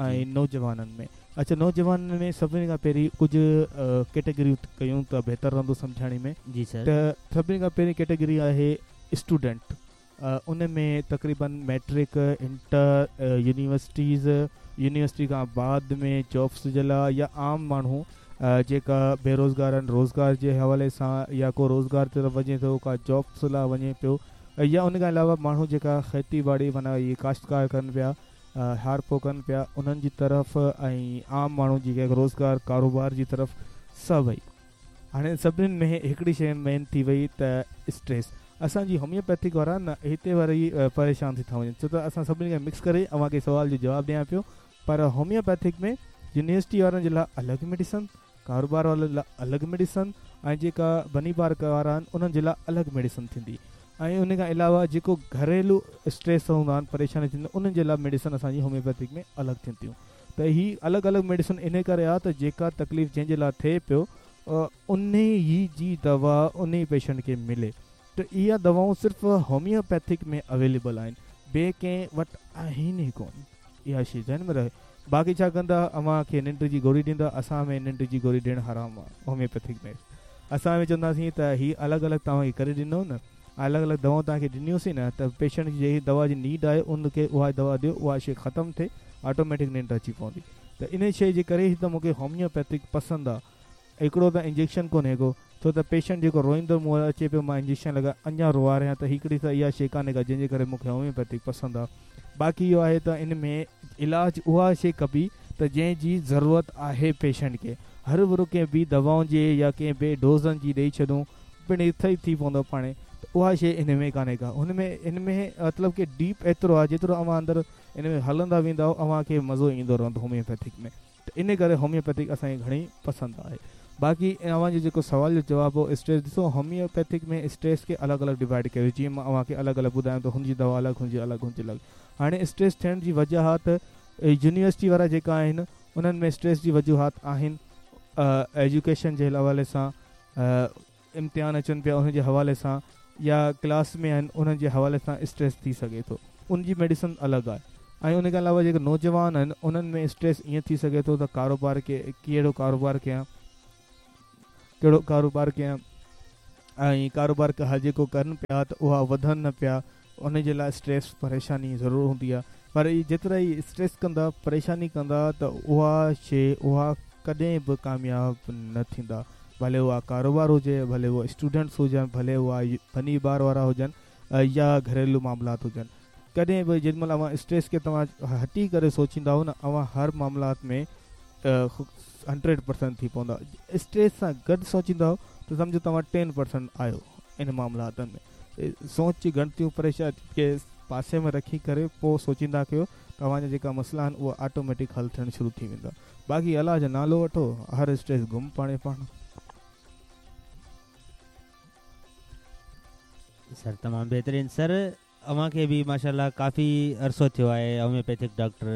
۽ نوجوانن ۾ اڇا نوجوانن ۾ سڀني کان پهرين ڪجهه ڪيٽيگريون ڪيون ته بهتر رهندو سمجهاڻي ۾ جي سر ته سڀني کان پهرين ڪيٽيگري آهي اسٽوڊنٽ ان ۾ تقريبن ميٽرڪ انٽر يونيورسٽيز يونيورسٽي کان بعد ۾ جابس جي لاء يا عام ماڻهو جيڪا بيروزگار آهن روزگار جي حوالي سان يا ڪو روزگار طرف وڃي ٿو ڪا جابس لاء وڃي پيو يا ان کان علاوه ماڻهو جيڪا کيتي ٻاڙي معنيٰ اهي ڪاشتڪار ڪن پيا هارپو ڪن پيا انهن جي طرف ۽ عام ماڻهو جيڪي روزگار ڪاروبار جي طرف سڀئي هاڻي سڀني ۾ هڪڙي شيء مين ٿي وئي ته اسٽريس. اسان جي هوميوپيٿڪ وارا نه هتي وري پريشان ٿي ٿا وڃن ڇو ته اسان سڀني کي مڪس ڪري اوهان کي سوال جو جواب ڏيان پيو پر هوميوپيٿڪ ۾ يونيورسٽي وارن جي لاء الڳ ميڊيسن، ڪاروبار وارن لاء الڳ ميڊيسن ۽ جيڪا بني بار وارا آهن انهن جي لاء الڳ ميڊيسن ٿيندي ۽ ان کان علاوه جيڪو گهريلو اسٽريس هوندا آهن پريشاني ٿيندي انهن جي لاء ميڊيسن اسان جي هوميوپيٿڪ ۾ الڳ ٿينديون. ته هي الڳ الڳ ميڊيسن انهي ڪري آ ته جيڪا تڪليف جنهن جي لاء ٿئي پيو انهي ئي جي دوا انهي پيشنٽ کي ملي ته اها دوائون صرف هوميوپيٿڪ ۾ اويليبل آهن ٻئي ڪنهن وٽ آهن ئي ڪونه اها شي ذهن ۾ رهي باقي ڇا ڪندا اوهان کي ننڊ جي گوري ڏيندا اسان ۾ ننڊ جي گوري ڏيڻ حرام آ هوميوپيٿڪ ۾ اسان ۾ چونداسين ته هي الڳ الڳ توهان کي ڪري ڏنو نه الڳ الڳ دوائون توهان کي ڏنيونسين نه ته پيشنٽ کي جهڙي دوا جي نيڊ آهي ان کي اها دوا ڏيو اها شي ختم ٿئي آٽوميٽڪ ننڊ اچي پوندي ته انهي شي جي ڪري ئي ته مون کي هوميوپيٿڪ پسند آ هڪڙو ته انجيڪشن ڪونهي ڪو ڇو ته پيشنٽ جيڪو روئيندو مون وٽ اچي پيو مان انجيڪشن لڳائي اڃا روئاريان ته هڪڙي ته اها شي ڪانهي ڪا جنهن جي ڪري مون کي هوميوپيٿڪ پسند آ باقي اهو آهي ته ان ۾ علاج اها شي ڪبي ته جنهن جي ضرورت آهي پيشنٽ کي هرو ڀرو ڪنهن ٻي دوائن جي يا ڪنهن ٻئي ڊوزن جي ڏئي ڇڏون پڻ صحيح ٿي پوندو پاڻهي ته اها شي ان ۾ ڪانهي ڪا هن ۾ ان ۾ مطلب ڪي ڊيپ ايترو آهي جيترو اوهان اندر ان ۾ هلندا ويندائو اوهان کي مزو ايندو رهندو هوميوپيٿڪ ۾ ته ان ڪري هوميوپيٿڪ اسان کي گهڻي پسند آهي. باقي اوهان جو جيڪو سوال جو جواب هو اسٽريس ڏسو هوميوپيٿڪ ۾ اسٽريس کي الڳ الڳ ڊوائيڊ ڪيو جيئن مان اوهان کي الڳ الڳ ٻڌايان ته هن جي دوا الڳ هن جي الڳ هن جي الڳ هاڻي اسٽريس ٿيڻ جي وجوهات يونيورسٽي وارا جيڪا آهن انهن ۾ اسٽريس جي وجوهات آهن ايجوڪيشن جي حوالي سان امتحان اچن پيا انهن جي حوالي سان يا ڪلاس ۾ آهن انهن جي حوالي سان اسٽريس ٿي سگهي ٿو ان جي ميڊيسن الڳ آهي ۽ ان کان علاوه جيڪي نوجوان آهن انهن ۾ اسٽريس ائين ٿي سگهي ٿو ته ڪاروبار کي ڪهڙو ڪاروبار ڪيان ڪهڙو ڪاروبار ڪيان ۽ ڪاروبار جيڪو ڪن پيا ته اها وڌن نه پيا ان جي لاء اسٽريس پريشاني ضرور هوندي آهي پر اهي جيترا ئي اسٽريس ڪندا پريشاني ڪندا ته اها شي اها ڪڏهن به ڪامياب نه ٿيندا ڀلي اها ڪاروبار هجي ڀلي اها اسٽوڊنٽس هجن ڀلي اها ٻني ٻار وارا هجن يا گهريلو معاملات هجن ڪڏهن به جيڏي مهل اوهان اسٽريس کي توهان هٽي ڪري سوچيندا نه اوهان هر معاملات ۾ 100% ٿي پوندا اسٽريس سان گڏ سوچيندا ته سمجهو توهان 10% آهيو ان معاملاتن ۾ سوچ جي ڳڻتيون پريشاني کي پاسي ۾ رکي ڪري پوء سوچيندا ڪيو توهان جا جيڪا مسئلا آهن اهي آٽوميٽڪ حل ٿيڻ شروع ٿي ويندا باقي الله جو نالو وٺو هر اسٽريس گم پاڻهي پاڻ. سر تمام بهترين سر اوهان کي به ماشاءالله ڪافي عرصو ٿيو آهي هوميوپيٿڪ ڊاڪٽر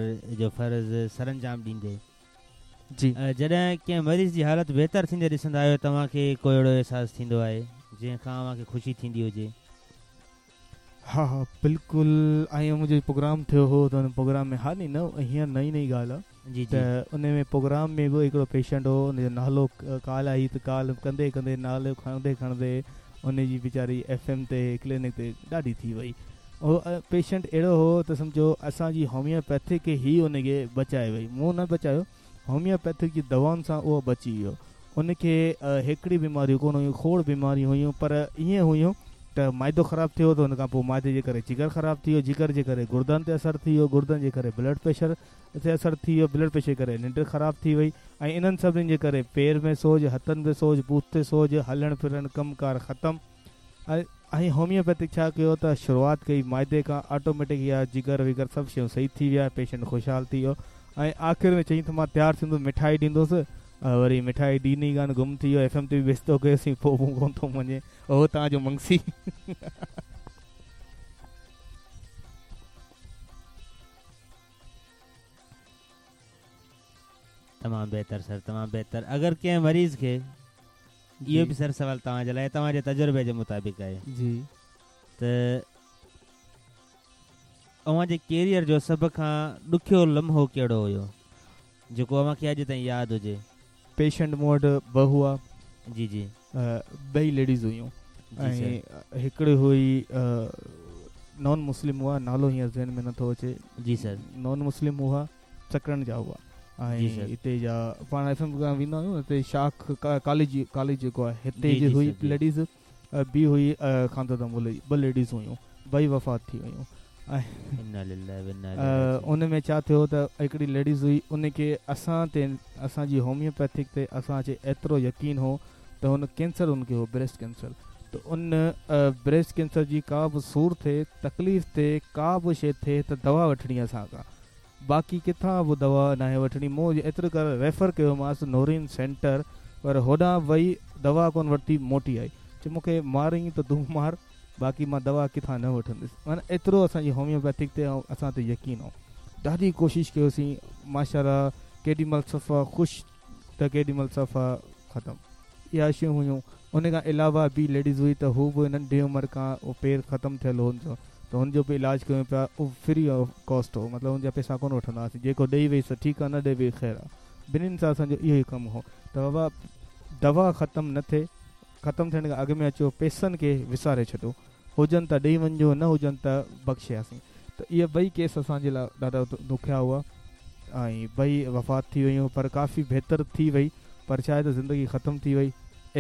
جو فرض سرانجام ڏيندي جي. جڏهن ڪنهن مريض جي حالت بهتر ٿيندي ڏسندا آهيو توهان کي ڪو اهڙو احساس ٿيندو آهي جنهن کان اوهان کي خوشي ٿيندي هجي؟ ها ها بلڪل ۽ منهنجو پروگرام ٿيو هو ته ان پروگرام ۾ ها ني نه هينئر نئين نئين ڳالهه آ جي جي. ته ان ۾ پروگرام ۾ به هڪڙو پيشنٽ هو ان جو نالو ڪال آئي ته ڪال ڪندي ڪندي نالو کڻندي کڻندي ان جي ويچاري ايف ايم تي ڪلينڪ تي ڏاڍي ٿي وئي اهو پيشنٽ اهڙو هو ته سمجهو اسان جي هوميوپيٿڪ ئي ان کي بچائي وئي مون نه بچايو هوميوپيٿڪ جي دوائن سان اهو بچي ويو ان کي هڪڙي بيماريون ڪونه هيون کوڙ بيماريون هيون پر ائين هيون ته معدو خراب ٿيو ته ان کان پوء معدي جي ڪري جگر خراب ٿي ويو جگر جي ڪري گردن تي اثر ٿي ويو گردن جي ڪري بلڊ پريشر تي اثر ٿي ويو بلڊ پريشر جي ڪري ننڊ خراب ٿي وئي ۽ انهن سڀني جي ڪري پير ۾ سوڄ هٿن ۾ سوڄ بوٿ تي سوڄ هلڻ ڦرڻ ڪم ڪار ختم ۽ هوميوپيٿڪ ڇا ڪيو ته شروعات ڪئي معدي کان آٽوميٽڪ اها جگر وگر سڀ شيون صحيح ٿي ويا پيشنٽ خوشحال ٿي ويو ۽ آخر ۾ چئين ته مان تيار ٿيندس مٺائي ڏيندس وري مٺائي ڏني ڪانه گم ٿي ويو ايف ايم تي به بيستو ڪيوسين پوء به ڪونه ٿو مڃي اهو توهان جو منگسي. تمام بهتر سر تمام بهتر اگر ڪنهن مريض کي اهو به سر سوال توهان جي لاء توهان جي تجربي جي مطابق آهي جي ته اوهان جي ڪيريئر جو سڀ کان ڏکيو لمحو ڪهڙو هيو جيڪو اوهان کي اڄ تائين ياد هجي؟ پيشنٽ مون وٽ ٻه هئا. جي جي. ٻئي ليڊيز هيون ۽ هڪڙي هئي نان مسلم هئا نالو هينئر ذهن ۾ نٿو اچي. جي سر. نان مسلم هئا سڪرنڊ جا هئا ۽ هتي جا پاڻ ايف ايم پروگرام ويندا آهيون هتي شاخ ڪاليج ڪاليج جيڪو آهي هتي جي هئي ليڊيز ٻي هئي خانزاده محلي جي ٻه ليڊيز هيون ٻئي وفات ٿي ويون ۽ ان ۾ ڇا ٿيو ته هڪڙي ليڊيز هئي ان کي اسان تي اسان جي هوميوپيٿڪ تي اسان کي ايترو يقين هو ته هن ڪينسر ان کي هو بريسٽ ڪينسر ته ان بريسٽ ڪينسر جي ڪا به سور ٿئي تڪليف ٿئي ڪا به شي ٿئي ته دوا وٺڻي اسان کان باقي ڪٿان به دوا ناهي وٺڻي مون ايترو ڪري ريفر ڪيومانس نورين سينٽر پر هوڏانهن وئي دوا ڪونه ورتي موٽي آئي چي مون کي مارين ته تون مار باقي مان دوا ڪٿان نه وٺندس معنيٰ ايترو اسان جي هوميوپيٿڪ تي ۽ اسان تي يقين هو ڏاڍي ڪوشش ڪيوسين ماشاءالله ڪيڏي مهل صفا خوش ته ڪيڏي مهل صفا ختم اها شيون هيون ان کان علاوه ٻي ليڊيز هئي ته هو به ننڍي عمر کان پير ختم ٿيل هو ان جو ته هن جو به علاج ڪيون پيا اهو فري آف ڪاسٽ هو مطلب هن جا پئسا ڪونه وٺندا هئاسين جيڪو ڏئي وئي سو ٺيڪ آ نه ڏئي وئي خير آ ٻنهين سان اسان جو اهو ئي ڪم هو ته بابا دوا ختم نه ٿئي ختم ٿيڻ کان اڳ ۾ اچو پئسن کي وساري ڇڏو هجن ته ڏئي وڃجو نه هجن ته بخشياسين ته اهي ٻئي ڪيس اسان جي لاء ڏاڍا ڏکيا هئا ۽ ٻئي وفات ٿي ويون پر ڪافي بهتر ٿي وئي پر ڇا آهي ته زندگي ختم ٿي وئي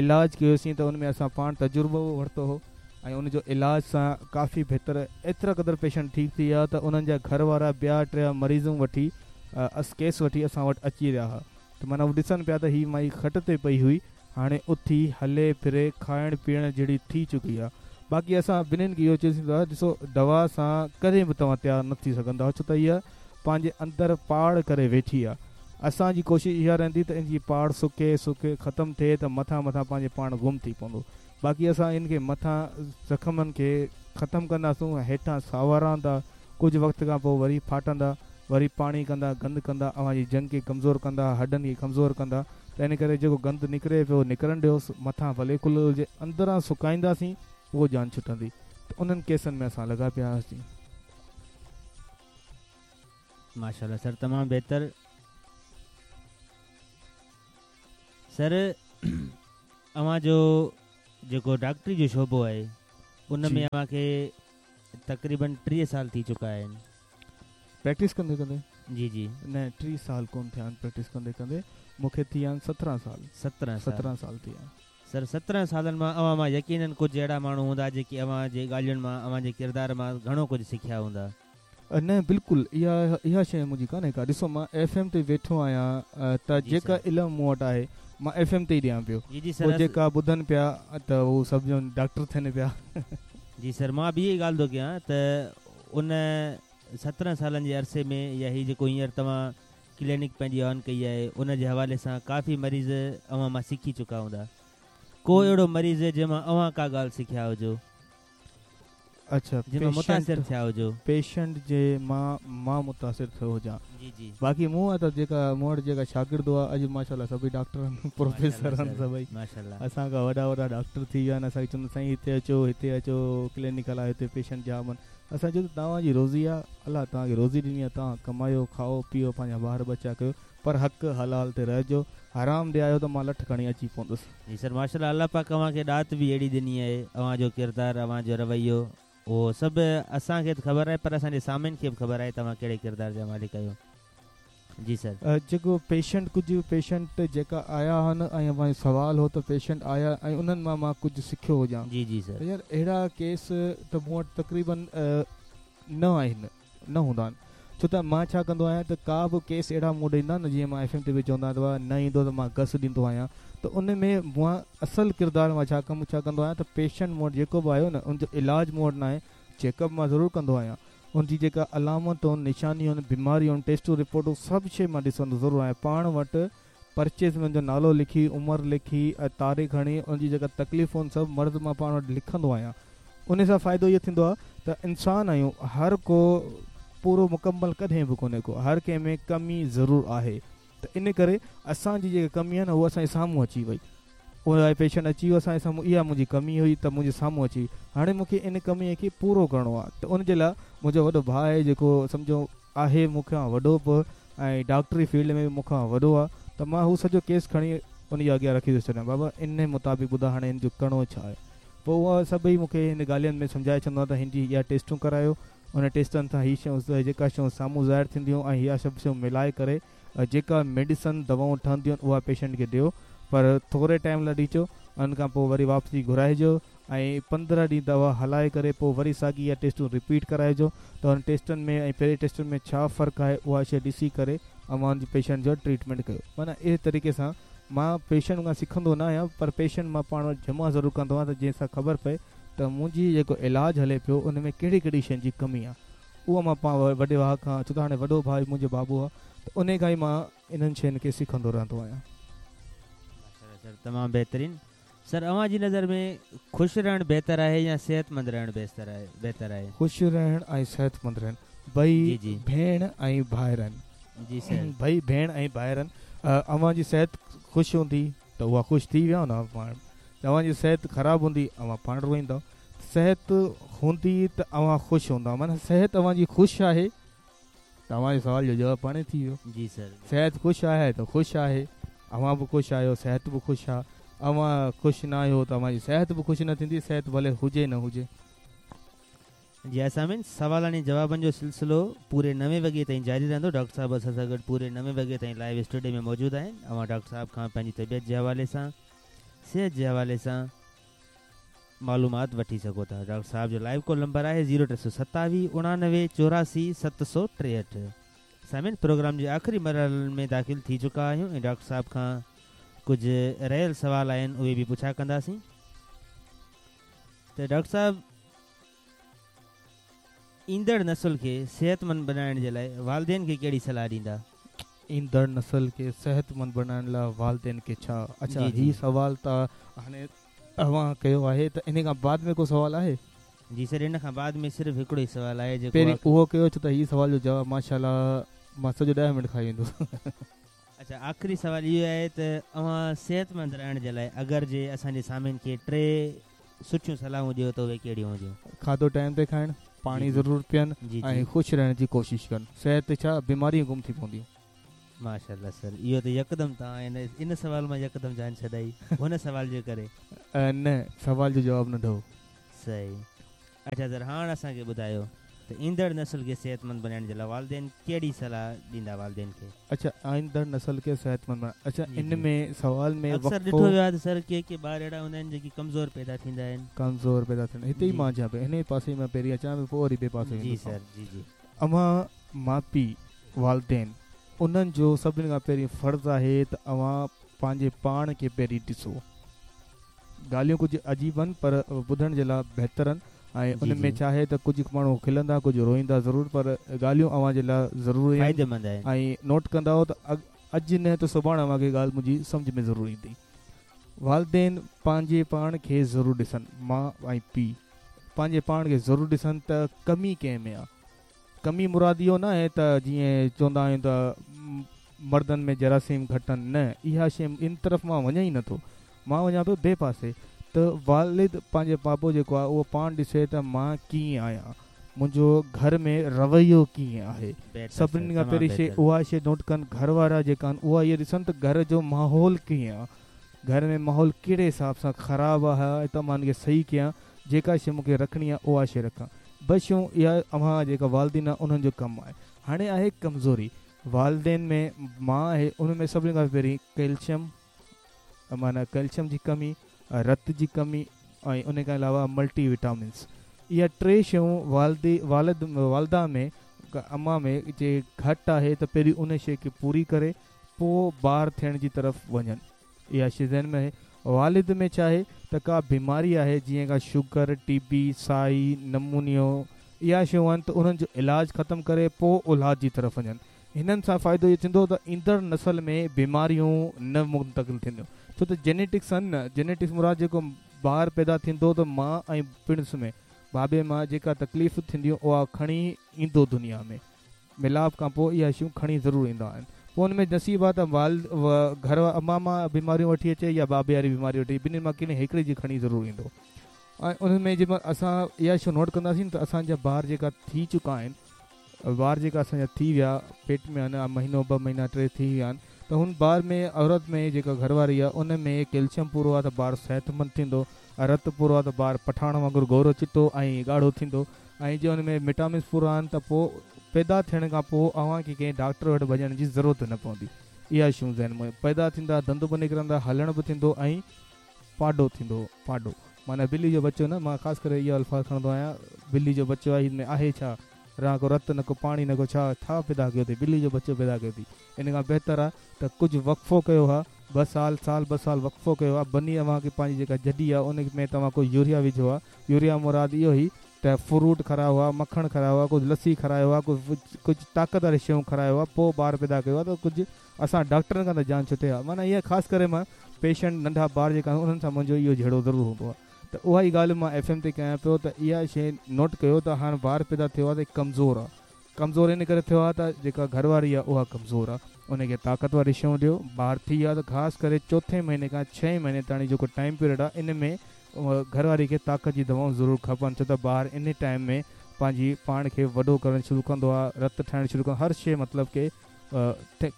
علاج ڪيوسين ته ان ۾ اسان پاڻ تجربو ورتو هو ۽ ان جو علاج سان ڪافي بهتر ايترا قدر پيشنٽ ٺيڪ ٿي ويا ته انهن جا گهر وارا ٻيا ٽيا مريضون وٺي اس ڪيس وٺي اسان وٽ اچي رهيا ها ته معنيٰ هو ڏسن پيا ته هي مائي کٽ تي پئي هئي هاڻي اٿي هلي ڦري کائڻ پيئڻ جهڙي ٿي چڪي آ باقي اسان ٻنهين کي اهو چيوسين ته ڏسو دوا سان ڪڏهن به توهان تيار نه ٿي سگهندا ڇو ته هيء پنهنجي اندر پاڙ ڪري ويٺي آ اسان جي ڪوشش اها رهندي ته ان جي پاڙ سڪي سڪي ختم ٿئي ته مٿان مٿان پنهنجي پاڻ گم ٿي پوندو باقي اسان ان کي مٿان زخمن کي ختم ڪنداسون هيٺان ساوا رهندا ڪجهه وقت کان پوء وري ڦاٽندا وري پاڻي ڪندا گند ڪندا اوهان جي ڄنگهه کي ڪمزور ڪندا هڏن کي ڪمزور ڪندا ته ان ڪري جيڪو گند نڪري پيو نڪرڻ ڏيوس مٿان ڀلي کليل هجي اندران سڪائينداسين پوء جان ڇٽندي ته انهن ڪيسن ۾ اسان لڳا پيا هئاسين. ماشاءالله سر تمام بهتر سر اوهان جو جيڪو ڊاڪٽري جو شعبو آهي ان ۾ اوهان کي تقريبن 30 سال ٿي چڪا آهن. پريڪٽس ڪندي ڪندي؟ جي جي. نه 30 سال ڪون ٿيا آهن پريڪٽس ڪندي ڪندي مون کي ٿي ويا آهن 17 سال. 17 سال. 17 سال ٿي ويا. سر 17 سالن مان اوهان مان يقينن ڪجهه اهڙا ماڻهو هوندا جيڪي اوهان جي ڳالهين مان اوهان جي ڪردار مان گهڻو ڪجهه سکيا هوندا. نه بلڪل اها اها شيء منهنجي ڪانهي ڪا ڏسو مان ايف ايم تي ويٺو آهيان ته جيڪا علم مون وٽ آهي مان ايف ايم تي ئي ڏيان پيو جي جي سر پوء جيڪا ٻڌن پيا ته هو سڀ ڄڻ ڊاڪٽر ٿين پيا. جي سر مان به اها ئي ڳالهه ٿو ڪيان ته ان 17 سالن جي عرصي ۾ يا هي جيڪو هينئر توهان ڪلينڪ پنهنجي آن ڪئي آهي ان جي حوالي سان ڪافي مريض اوهان مان سکي چڪا هوندا ڪو اهڙو مريض جنهن مان اوهان ڪا ڳالهه سکيا هجو. اڇا جنهن مان متاثر ٿيا هجو. پيشنٽ جي مان مان متاثر ٿيو هجان. جي جي. باقي مون وٽ جيڪا مون وٽ جيڪا شاگرد هئا اڄ ماشاءالله سڀئي ڊاڪٽر آهن پروفيسر آهن سڀئي اسان کان وڏا وڏا ڊاڪٽر ٿي ويا آهن اسان کي چوندا سائين هتي اچو هتي اچو ڪلينڪ هلايو هتي پيشنٽ جام آهن اسان چيو ته توهان جي روزي آهي الله توهان کي روزي ڏني آهي توهان ڪمايو کائو پيئو پنهنجا ٻار ٻچا ڪيو پر حق حلال تي رهجو، حرام ڏي آيو ته مان لٺ کڻي اچي پوندس. جي سر ماشاءالله الله پاڪ اوهان کي ڏات به اهڙي ڏني آهي اوهان جو ڪردار اوهان جو رويو اهو سڀ اسان کي ته خبر آهي پر اسان جي سامعين کي به خبر آهي توهان ڪهڙي ڪردار جا مالڪ آهيو جي سر. جيڪو پيشنٽ ڪجهه پيشنٽ جيڪا آيا هن ۽ اوهان جو سوال هو ته پيشنٽ آيا ۽ انهن مان مان ڪجهه سکيو هجان جي جي سر. ته يار اهڙا ڪيس ته مون وٽ تقريبن نه آهن. نه هوندا آهن ڇو ته مان ڇا ڪندو آهيان ته ڪا به ڪيس اهڙا مون ڏي ايندا آهن نه جيئن مان ايف ايم تي به چوندو آهيان ته بابا نه ايندو ته مان گس ڏيندو آهيان ته ان ۾ مان اصل ڪردار مان ڇا ڪم ڇا ڪندو آهيان ته پيشنٽ مون وٽ جيڪو به آيو نه ان جو علاج مون وٽ ناهي چيڪ اپ مان ضرور ڪندو آهيان ان جي جيڪا علامتون نشانيون بيماريون ٽيسٽون رپورٽون سڀ شي مان ڏسندو ضرور آهيان پاڻ وٽ پرچي ۾ ان جو نالو لکي، عمر لکي ۽ تاريخ هڻي ان جي جيڪا تڪليفون سڀ مرض مان پاڻ وٽ لکندو آهيان. انهي سان فائدو اهو ٿيندو آهي ته انسان آهيون هر ڪو پورو مڪمل ڪڏهن به ڪونهي ڪو هر ڪنهن ۾ ڪمي ضرور آهي ته ان ڪري اسان جي جيڪا ڪمي آهي نه اها اسان جي سامهون اچي وئي اهو پيشنٽ اچي ويو اسان جي سامهون اها منهنجي ڪمي هئي ته منهنجي سامهون اچي وئي هاڻي مون کي ان ڪمي کي پورو ڪرڻو آهي ته ان جي لاء منهنجو وڏو ڀاء آهي جيڪو سمجهو آهي مون کان وڏو به ۽ ڊاڪٽري فيلڊ ۾ به مون کان وڏو آ ته مان هو سڄو ڪيس کڻي ان جي اڳيان رکي ٿو ڇڏيان بابا انهي مطابق ٻڌاء هاڻي هن جو ڪرڻو ڇا آهي پوء اها سڀئي مون کي هن ڳالهين ۾ سمجهائي ڇڏندو آ ته هن جي اها ٽيسٽون ڪرايو ان ٽيسٽن سان هي شيون جيڪا شيون سامهون ظاهر ٿينديون ۽ اها سڀ شيون ملائي ڪري جيڪا ميڊيسن دوائون ٺهنديون آهن اها پيشنٽ کي ڏيو پر ٿوري ٽائيم لاء ڏجو ان کان پوء وري واپسي گهرائجو ۽ 15 ڏينهن دوا هلائي ڪري پوء وري ساڳي اها ٽيسٽون رپيٽ ڪرائجو ته انهن ٽيسٽن ۾ ۽ پهرين ٽيسٽن ۾ ڇا فرق آهي اها شيء ڏسي ڪري اوهان ان جي پيشنٽ جو ٽريٽمينٽ ڪيو معنيٰ اهڙي طريقي سان مان پيشنٽ کان سکندو نه آهيان پر پيشنٽ مان پاڻ وٽ جمع ضرور ڪندو آهيان ته جنهن سان خبر پئي ته منهنجي جيڪو علاج هلي پيو ان ۾ ڪهڙي ڪهڙي شين جي ڪمي آهي اهو مان پاڻ وڏي ڀاء کان ڇو ته هاڻي وڏو ڀاء منهنجو بابو آهي ته انهي کان ئي مان انهن شين کي سکندو رهندو آهيان. ماشاءالله سر تمام بهترين. سر اوهان جي نظر ۾ خوش رهڻ بهتر آهي يا صحتمند رهڻ بهتر آهي؟ خوش رهڻ ۽ صحتمند رهڻ ٻئي ڀيڻ ۽ ڀائر آهن. جي سر. ٻئي ڀيڻ ۽ ڀائر آهن. اوهان جي صحت خوش هوندي ته اها خوش ٿي ويا نه پاڻ. اوهان جي صحت خراب هوندي اوهان پاڻ روئيندؤ. صحت هوندي ته اوهان خوش هوندا معنيٰ صحت اوهان جي خوش آهي ته اوهان جي سوال جو جواب پاڻ ئي ٿي ويو. جي سر. صحت خوش آهي ته خوش آهي اوهان به خوش آهيو صحت به خوش آ اوهان خوش نه آهيو ته اوهان جي صحت به خوش نه ٿيندي صحت ڀلي هجي نه هجي. جي ها سامعين سوالن ۽ جوابن جو سلسلو پوري نوين وڳي تائين جاري رهندو ڊاڪٽر صاحب اسان سان گڏ پوري نوين وڳي تائين لائيو اسٽوڊيو ۾ موجود آهن اوهان ڊاڪٽر صاحب کان پنهنجي طبيعت جي حوالي سان صحت جي حوالي سان معلومات وٺي سگهو ٿا ڊاڪٽر صاحب جو لائيو ڪال نمبر آهي زيرو 327 89 84 763 سامعين پروگرام جي آخري مرحلن ۾ داخل ٿي چڪا آهيون ۽ ڊاڪٽر صاحب کان ڪجهه رهيل سوال آهن اهي به پڇا ڪنداسين ته ڊاڪٽر صاحب ايندڙ نسل کي صحتمند بنائڻ جي لاء والدين کي ڪهڙي صلاح ڏيندا؟ ايندڙ نسل کي صحتمند بنائڻ لاء والدين کي ڇا؟ اڇا جي هي جي. سوال ته هاڻي اوهان ڪيو آهي ته انهي کان بعد ۾ ڪو سوال آهي؟ جي سر ان کان بعد ۾ صرف هڪڙو ئي سوال آهي جيڪو پهرين اهو ڪيو ڇو ته هي سوال جو جواب ماشاءالله مان سڄو ڏهه منٽ کائي ويندس. اڇا آخري سوال اهو آهي ته اوهان صحتمند رهڻ جي لاء اگر جي اسان جي سامعين کي ٽي سٺيون صلاحون ڏيو ته اهي ڪهڙيون هونديون؟ کاڌو ٽائيم تي کائڻ، پاڻي جي جي ضرور پيئن جي ۽ جي. خوش رهڻ جي ڪوشش ڪن. صحت ڇا بيماريون گم ٿي پونديون. ماشاءالله سر اهو ته يڪدم توهان ان ان سوال مان يڪدم جان ڇڏائي هن سوال جي ڪري. نه سوال جو جواب ننڍو هو. صحيح اڇا سر هاڻ اسان کي ٻڌايو ته ايندڙ نسل کي صحتمند بنائڻ جي لاء والدين ڪهڙي صلاح ڏيندا والدين کي؟ اڇا ايندڙ نسل کي صحتمند بڻائڻ اڇا جي ان جي ۾ سوال ۾ اڪثر وقفو ڏٺو ويو آهي ته سر ڪي ڪي ٻار اهڙا هوندا آهن جيڪي ڪمزور پيدا ٿيندا آهن. ڪمزور پيدا ٿين هتي ئي جي مان اچان پيو انهي پاسي مان پهرين اچان پيو پوء وري ٻئي پاسي جي ويندس سر آئون. جي جي. اوهان ماء پيء والدين انهن جو سڀني کان پهرين فرض آهي ته اوهان پنهنجي پاڻ کي پهرين ڏسو. ڳالهيون ڪجهه عجيب آهن پر ٻڌڻ جي لاء بهتر آهن ۽ جي ان ۾ جي. ڇا آهي ته ڪجهه ماڻهو کلندا ڪجهه روئيندا ضرور پر ڳالهيون اوهان جي لاء ضروري آهن فائديمند آهن. ۽ نوٽ ڪندؤ ته اڄ نه ته سڀاڻ اوهان کي ڳالهه منهنجي سمجهه ۾ ضرور ايندي. والدين پنهنجي پاڻ کي ضرور ڏسن ماء ۽ پيء پنهنجي پاڻ کي ضرور ڏسن ته ڪمي ڪنهن ۾ آ. ڪمي مراد اهو نه آهي ته جيئن چوندا آهيون ته مردن ۾ جراثيم گهٽ آهن نه اها شيء ان طرف مان وڃان ئي نٿو مان وڃان پيو ٻئي پاسي ته والد پنهنجي بابو جيڪو آهي اهو پاڻ ڏسي ته مان ڪيئن آهيان منهنجو گهر ۾ رويو ڪيئن آهي بهتر سر سڀني کان تمام پهرين شيء بهتر. اها شيء نوٽ ڪن گهر وارا جيڪا آهن اها اهي ڏسن ته گهر جو ماحول ڪيئن آهي گهر ۾ ماحول ڪهڙي حساب سان خراب آهي ته مان ان کي صحيح ڪيان جيڪا شيء مون کي رکڻي آهي اها شيء رکان. ٻه شيون اها اوهان جيڪا والدين آهن انهن جو ڪم آهي. هاڻي آهي ڪمزوري والدين ۾ ماء آهي ان ۾ سڀني کان پهرين ڪئلشم معنيٰ ڪئلشم جي ڪمي، رت جي ڪمي ۽ ان کان علاوه ملٽي وٽامنس اها ٽي شيون والدي والد والده ۾ اما ۾ جي گهٽ آهي ته پهرين ان شيء کي پوري ڪري پوء ٻار ٿيڻ جي طرف وڃن. اها شيء ذهن ۾ آهي. والد ۾ ڇا آهي ته ڪا بيماري آهي جيئن ڪا شگر، ٽي بي، سائي، نمونيو اها شيون آهن ته انهن جو علاج ختم ڪري پوء اولاد جي طرف وڃن. هنن سان فائدو اهو ٿيندو ته ايندڙ نسل ۾ بيماريون نه منتقل ٿينديون ڇو ته جينيٽڪس آهن نه جينيٽڪس مراد جيڪو ٻار پيدا ٿيندو ته ماء ۽ پڻس ۾ بابي مان جيڪا تڪليف ٿينديون اها کڻي ايندو دنيا ۾. ميلاپ کان پوء اها شيون کڻي ضرور ايندا آهن. پوء ان ۾ نصيب آ ته والد گهر اما مان بيماريون وٺي اچي يا بابي واري بيماري وٺي ٻنهي مان ڪنهن هڪڙي جي کڻي ضرور ايندو ۽ ان ۾ جنهن مهل اسان اها شيء نوٽ ڪنداسين ته اسان جا ٻار جيڪا ٿي چڪا آهن ٻار جيڪا اسان جا ٿي ويا پيٽ ۾ آهن مهينو ٻه مهينا ٽي ٿي ويا آهن ته هن ٻار ۾ عورت ۾ جيڪا گهر واري آهي ان ۾ ڪيلشم پورو آهي ته ٻار صحتمند ٿيندو رت پورو آهي ته ٻار پٺاڻ وانگر گورو چٽو ۽ ڳاڙهو ٿيندو ۽ جي ان ۾ وٽامنس پورا آهن ته پوء پيدا ٿيڻ کان پوء اوهان کي ڪنهن ڊاڪٽر وٽ وڃڻ جي ضرورت نه پوندي. اها شيون ذهن ۾ پيدا ٿيندا، ڏند به نڪرندا، هلڻ به ٿيندو ۽ پاڏو ٿيندو. پاڏو معنيٰ ٻلي جو ٻچو نه، مان خاص ڪري اهو الفاظ کڻندو آهيان، ٻلي جو ٻچو آهي، هن ۾ آهي ڇا؟ نه ڪو رت نه ڪو پاڻي نه ڪو ڇا، ڇا پيدا ڪيو اٿئي؟ ٻلي جو ٻچو پيدا ڪيو اٿئي. ان کان بهتر آهي ته ڪجهه وقفو ڪيو ها، ٻه سال، سال ٻه سال وقفو ڪيو ها، بني اوهان کي پنهنجي جيڪا جڏي آهي ان ۾ توهان ڪو يوريا وجهو ها، يوريا مراد اهو هي ته فروٽ کارايو ها، مکڻ کارايو ها، ڪجهه لسي کارايو ها، ڪجهه طاقت واري شيون کارايو ها، پوء ٻار پيدا ڪيو ها ته ڪجهه اسان ڊاڪٽرن کان ته جان ڇٽي ها. معنيٰ اها خاص ڪري مان پيشنٽ ننڍا ٻار جيڪا آهن انهن سان منهنجو اهو جهيڙو ضرور هوندو آهي ته اها ئي ڳالهه مان ايف ايم تي ڪيان پيو ته اها شيء نوٽ ڪيو ته هاڻ ٻار پيدا ٿيو آهي ته ڪمزور آهي ڪمزور ان ڪري ٿيو آهي ته جيڪا گهر واري آهي اها ڪمزور آهي ان کي طاقت واري شيون ڏيو ٻار ٿي ويو آهي ته خاص ڪري چوٿين مهيني کان ڇهين مهيني تاڻي جيڪو ٽائيم پيريڊ آهي ان ۾ گهر واري کي طاقت جي دوائون ضرور کپن ڇو ته ٻار انهي ٽائيم ۾ پنهنجي پاڻ کي وڏو ڪرڻ شروع ڪندو آهي رت ٺاهڻ شروع ڪندو هر شي مطلب ڪي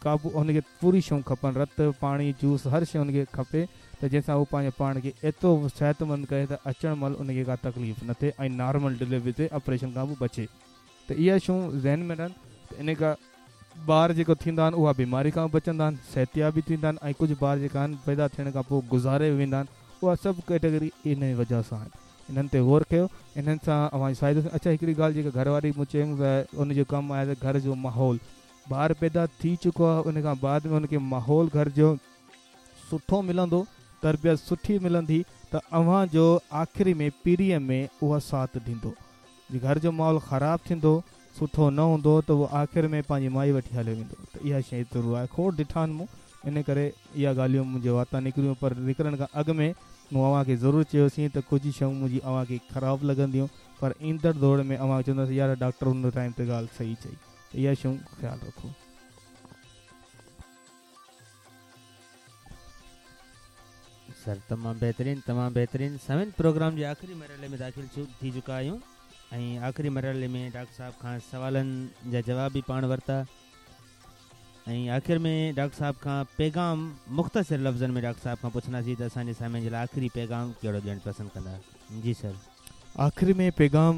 قابو ان کي پوري شيون کپن رت پاڻي جوس هر شي ان کي کپي ته جنهن سان هو پنهنجي پاڻ کي ايترو صحتمند ڪري ته اچڻ مهل ان کي ڪا تڪليف نه ٿئي ۽ نارمل ڊليوري ٿئي آپريشن کان به بچي ته اها شيون ذهن ۾ رهن ته ان کان ٻار جيڪو ٿيندا آهن اها بيماري کان به بچندا آهن صحتياب به ٿيندا آهن ۽ ڪجهه ٻار جيڪا آهن پيدا ٿيڻ کان پوء گذاري به ويندا آهن اها سڀ ڪيٽيگري انهي وجه سان آهن انهن تي غور ڪيو انهن سان اوهان جو فائدو ٿيندو اڇا هڪڙي ڳالهه جيڪا گهر واري مون چيم ته ان جو ڪم آهي ته گهر جو ماحول ٻار پيدا ٿي چڪو آهي ان کان بعد ۾ ان کي ماحول گهر جو سٺو ملندو تربيت سٺي ملندي ته اوهان جو آخري ۾ پيريء ۾ اها ساٿ ڏيندو جي گهر جو ماحول خراب ٿيندو، سٺو نه هوندو ته اهو آخر ۾ پنهنجي مائي وٺي هليو ويندو ته اها شيء ضرور آهي. کوڙ ڏٺا آهن مون، ان ڪري اها ڳالهيون منهنجي واتان نڪريون پر نڪرڻ کان اڳ ۾ مون اوهان کي ضرور چيوسين ته ڪجهه شيون منهنجي اوهان کي خراب لڳنديون پر ايندڙ دور ۾ اوهان چونداسين يار ڊاڪٽر ان ٽائيم تي ڳالهه صحيح چئي ته اها شيون خيال رکو. سر تمام بهترين تمام بهترين سامعين پروگرام جي آخري مرحلي ۾ داخل ٿي چڪا آهيون ۽ آخري مرحلي ۾ ڊاڪٽر صاحب کان سوالن جا جواب به پاڻ ورتا ۽ آخر ۾ ڊاڪٽر صاحب کان پيغام مختصر لفظن ۾ ڊاڪٽر صاحب کان پڇنداسين ته اسان جي سامعين جي لاء آخري پيغام ڪهڙو ڏيڻ پسند ڪندا جي سر. آخري ۾ پيغام.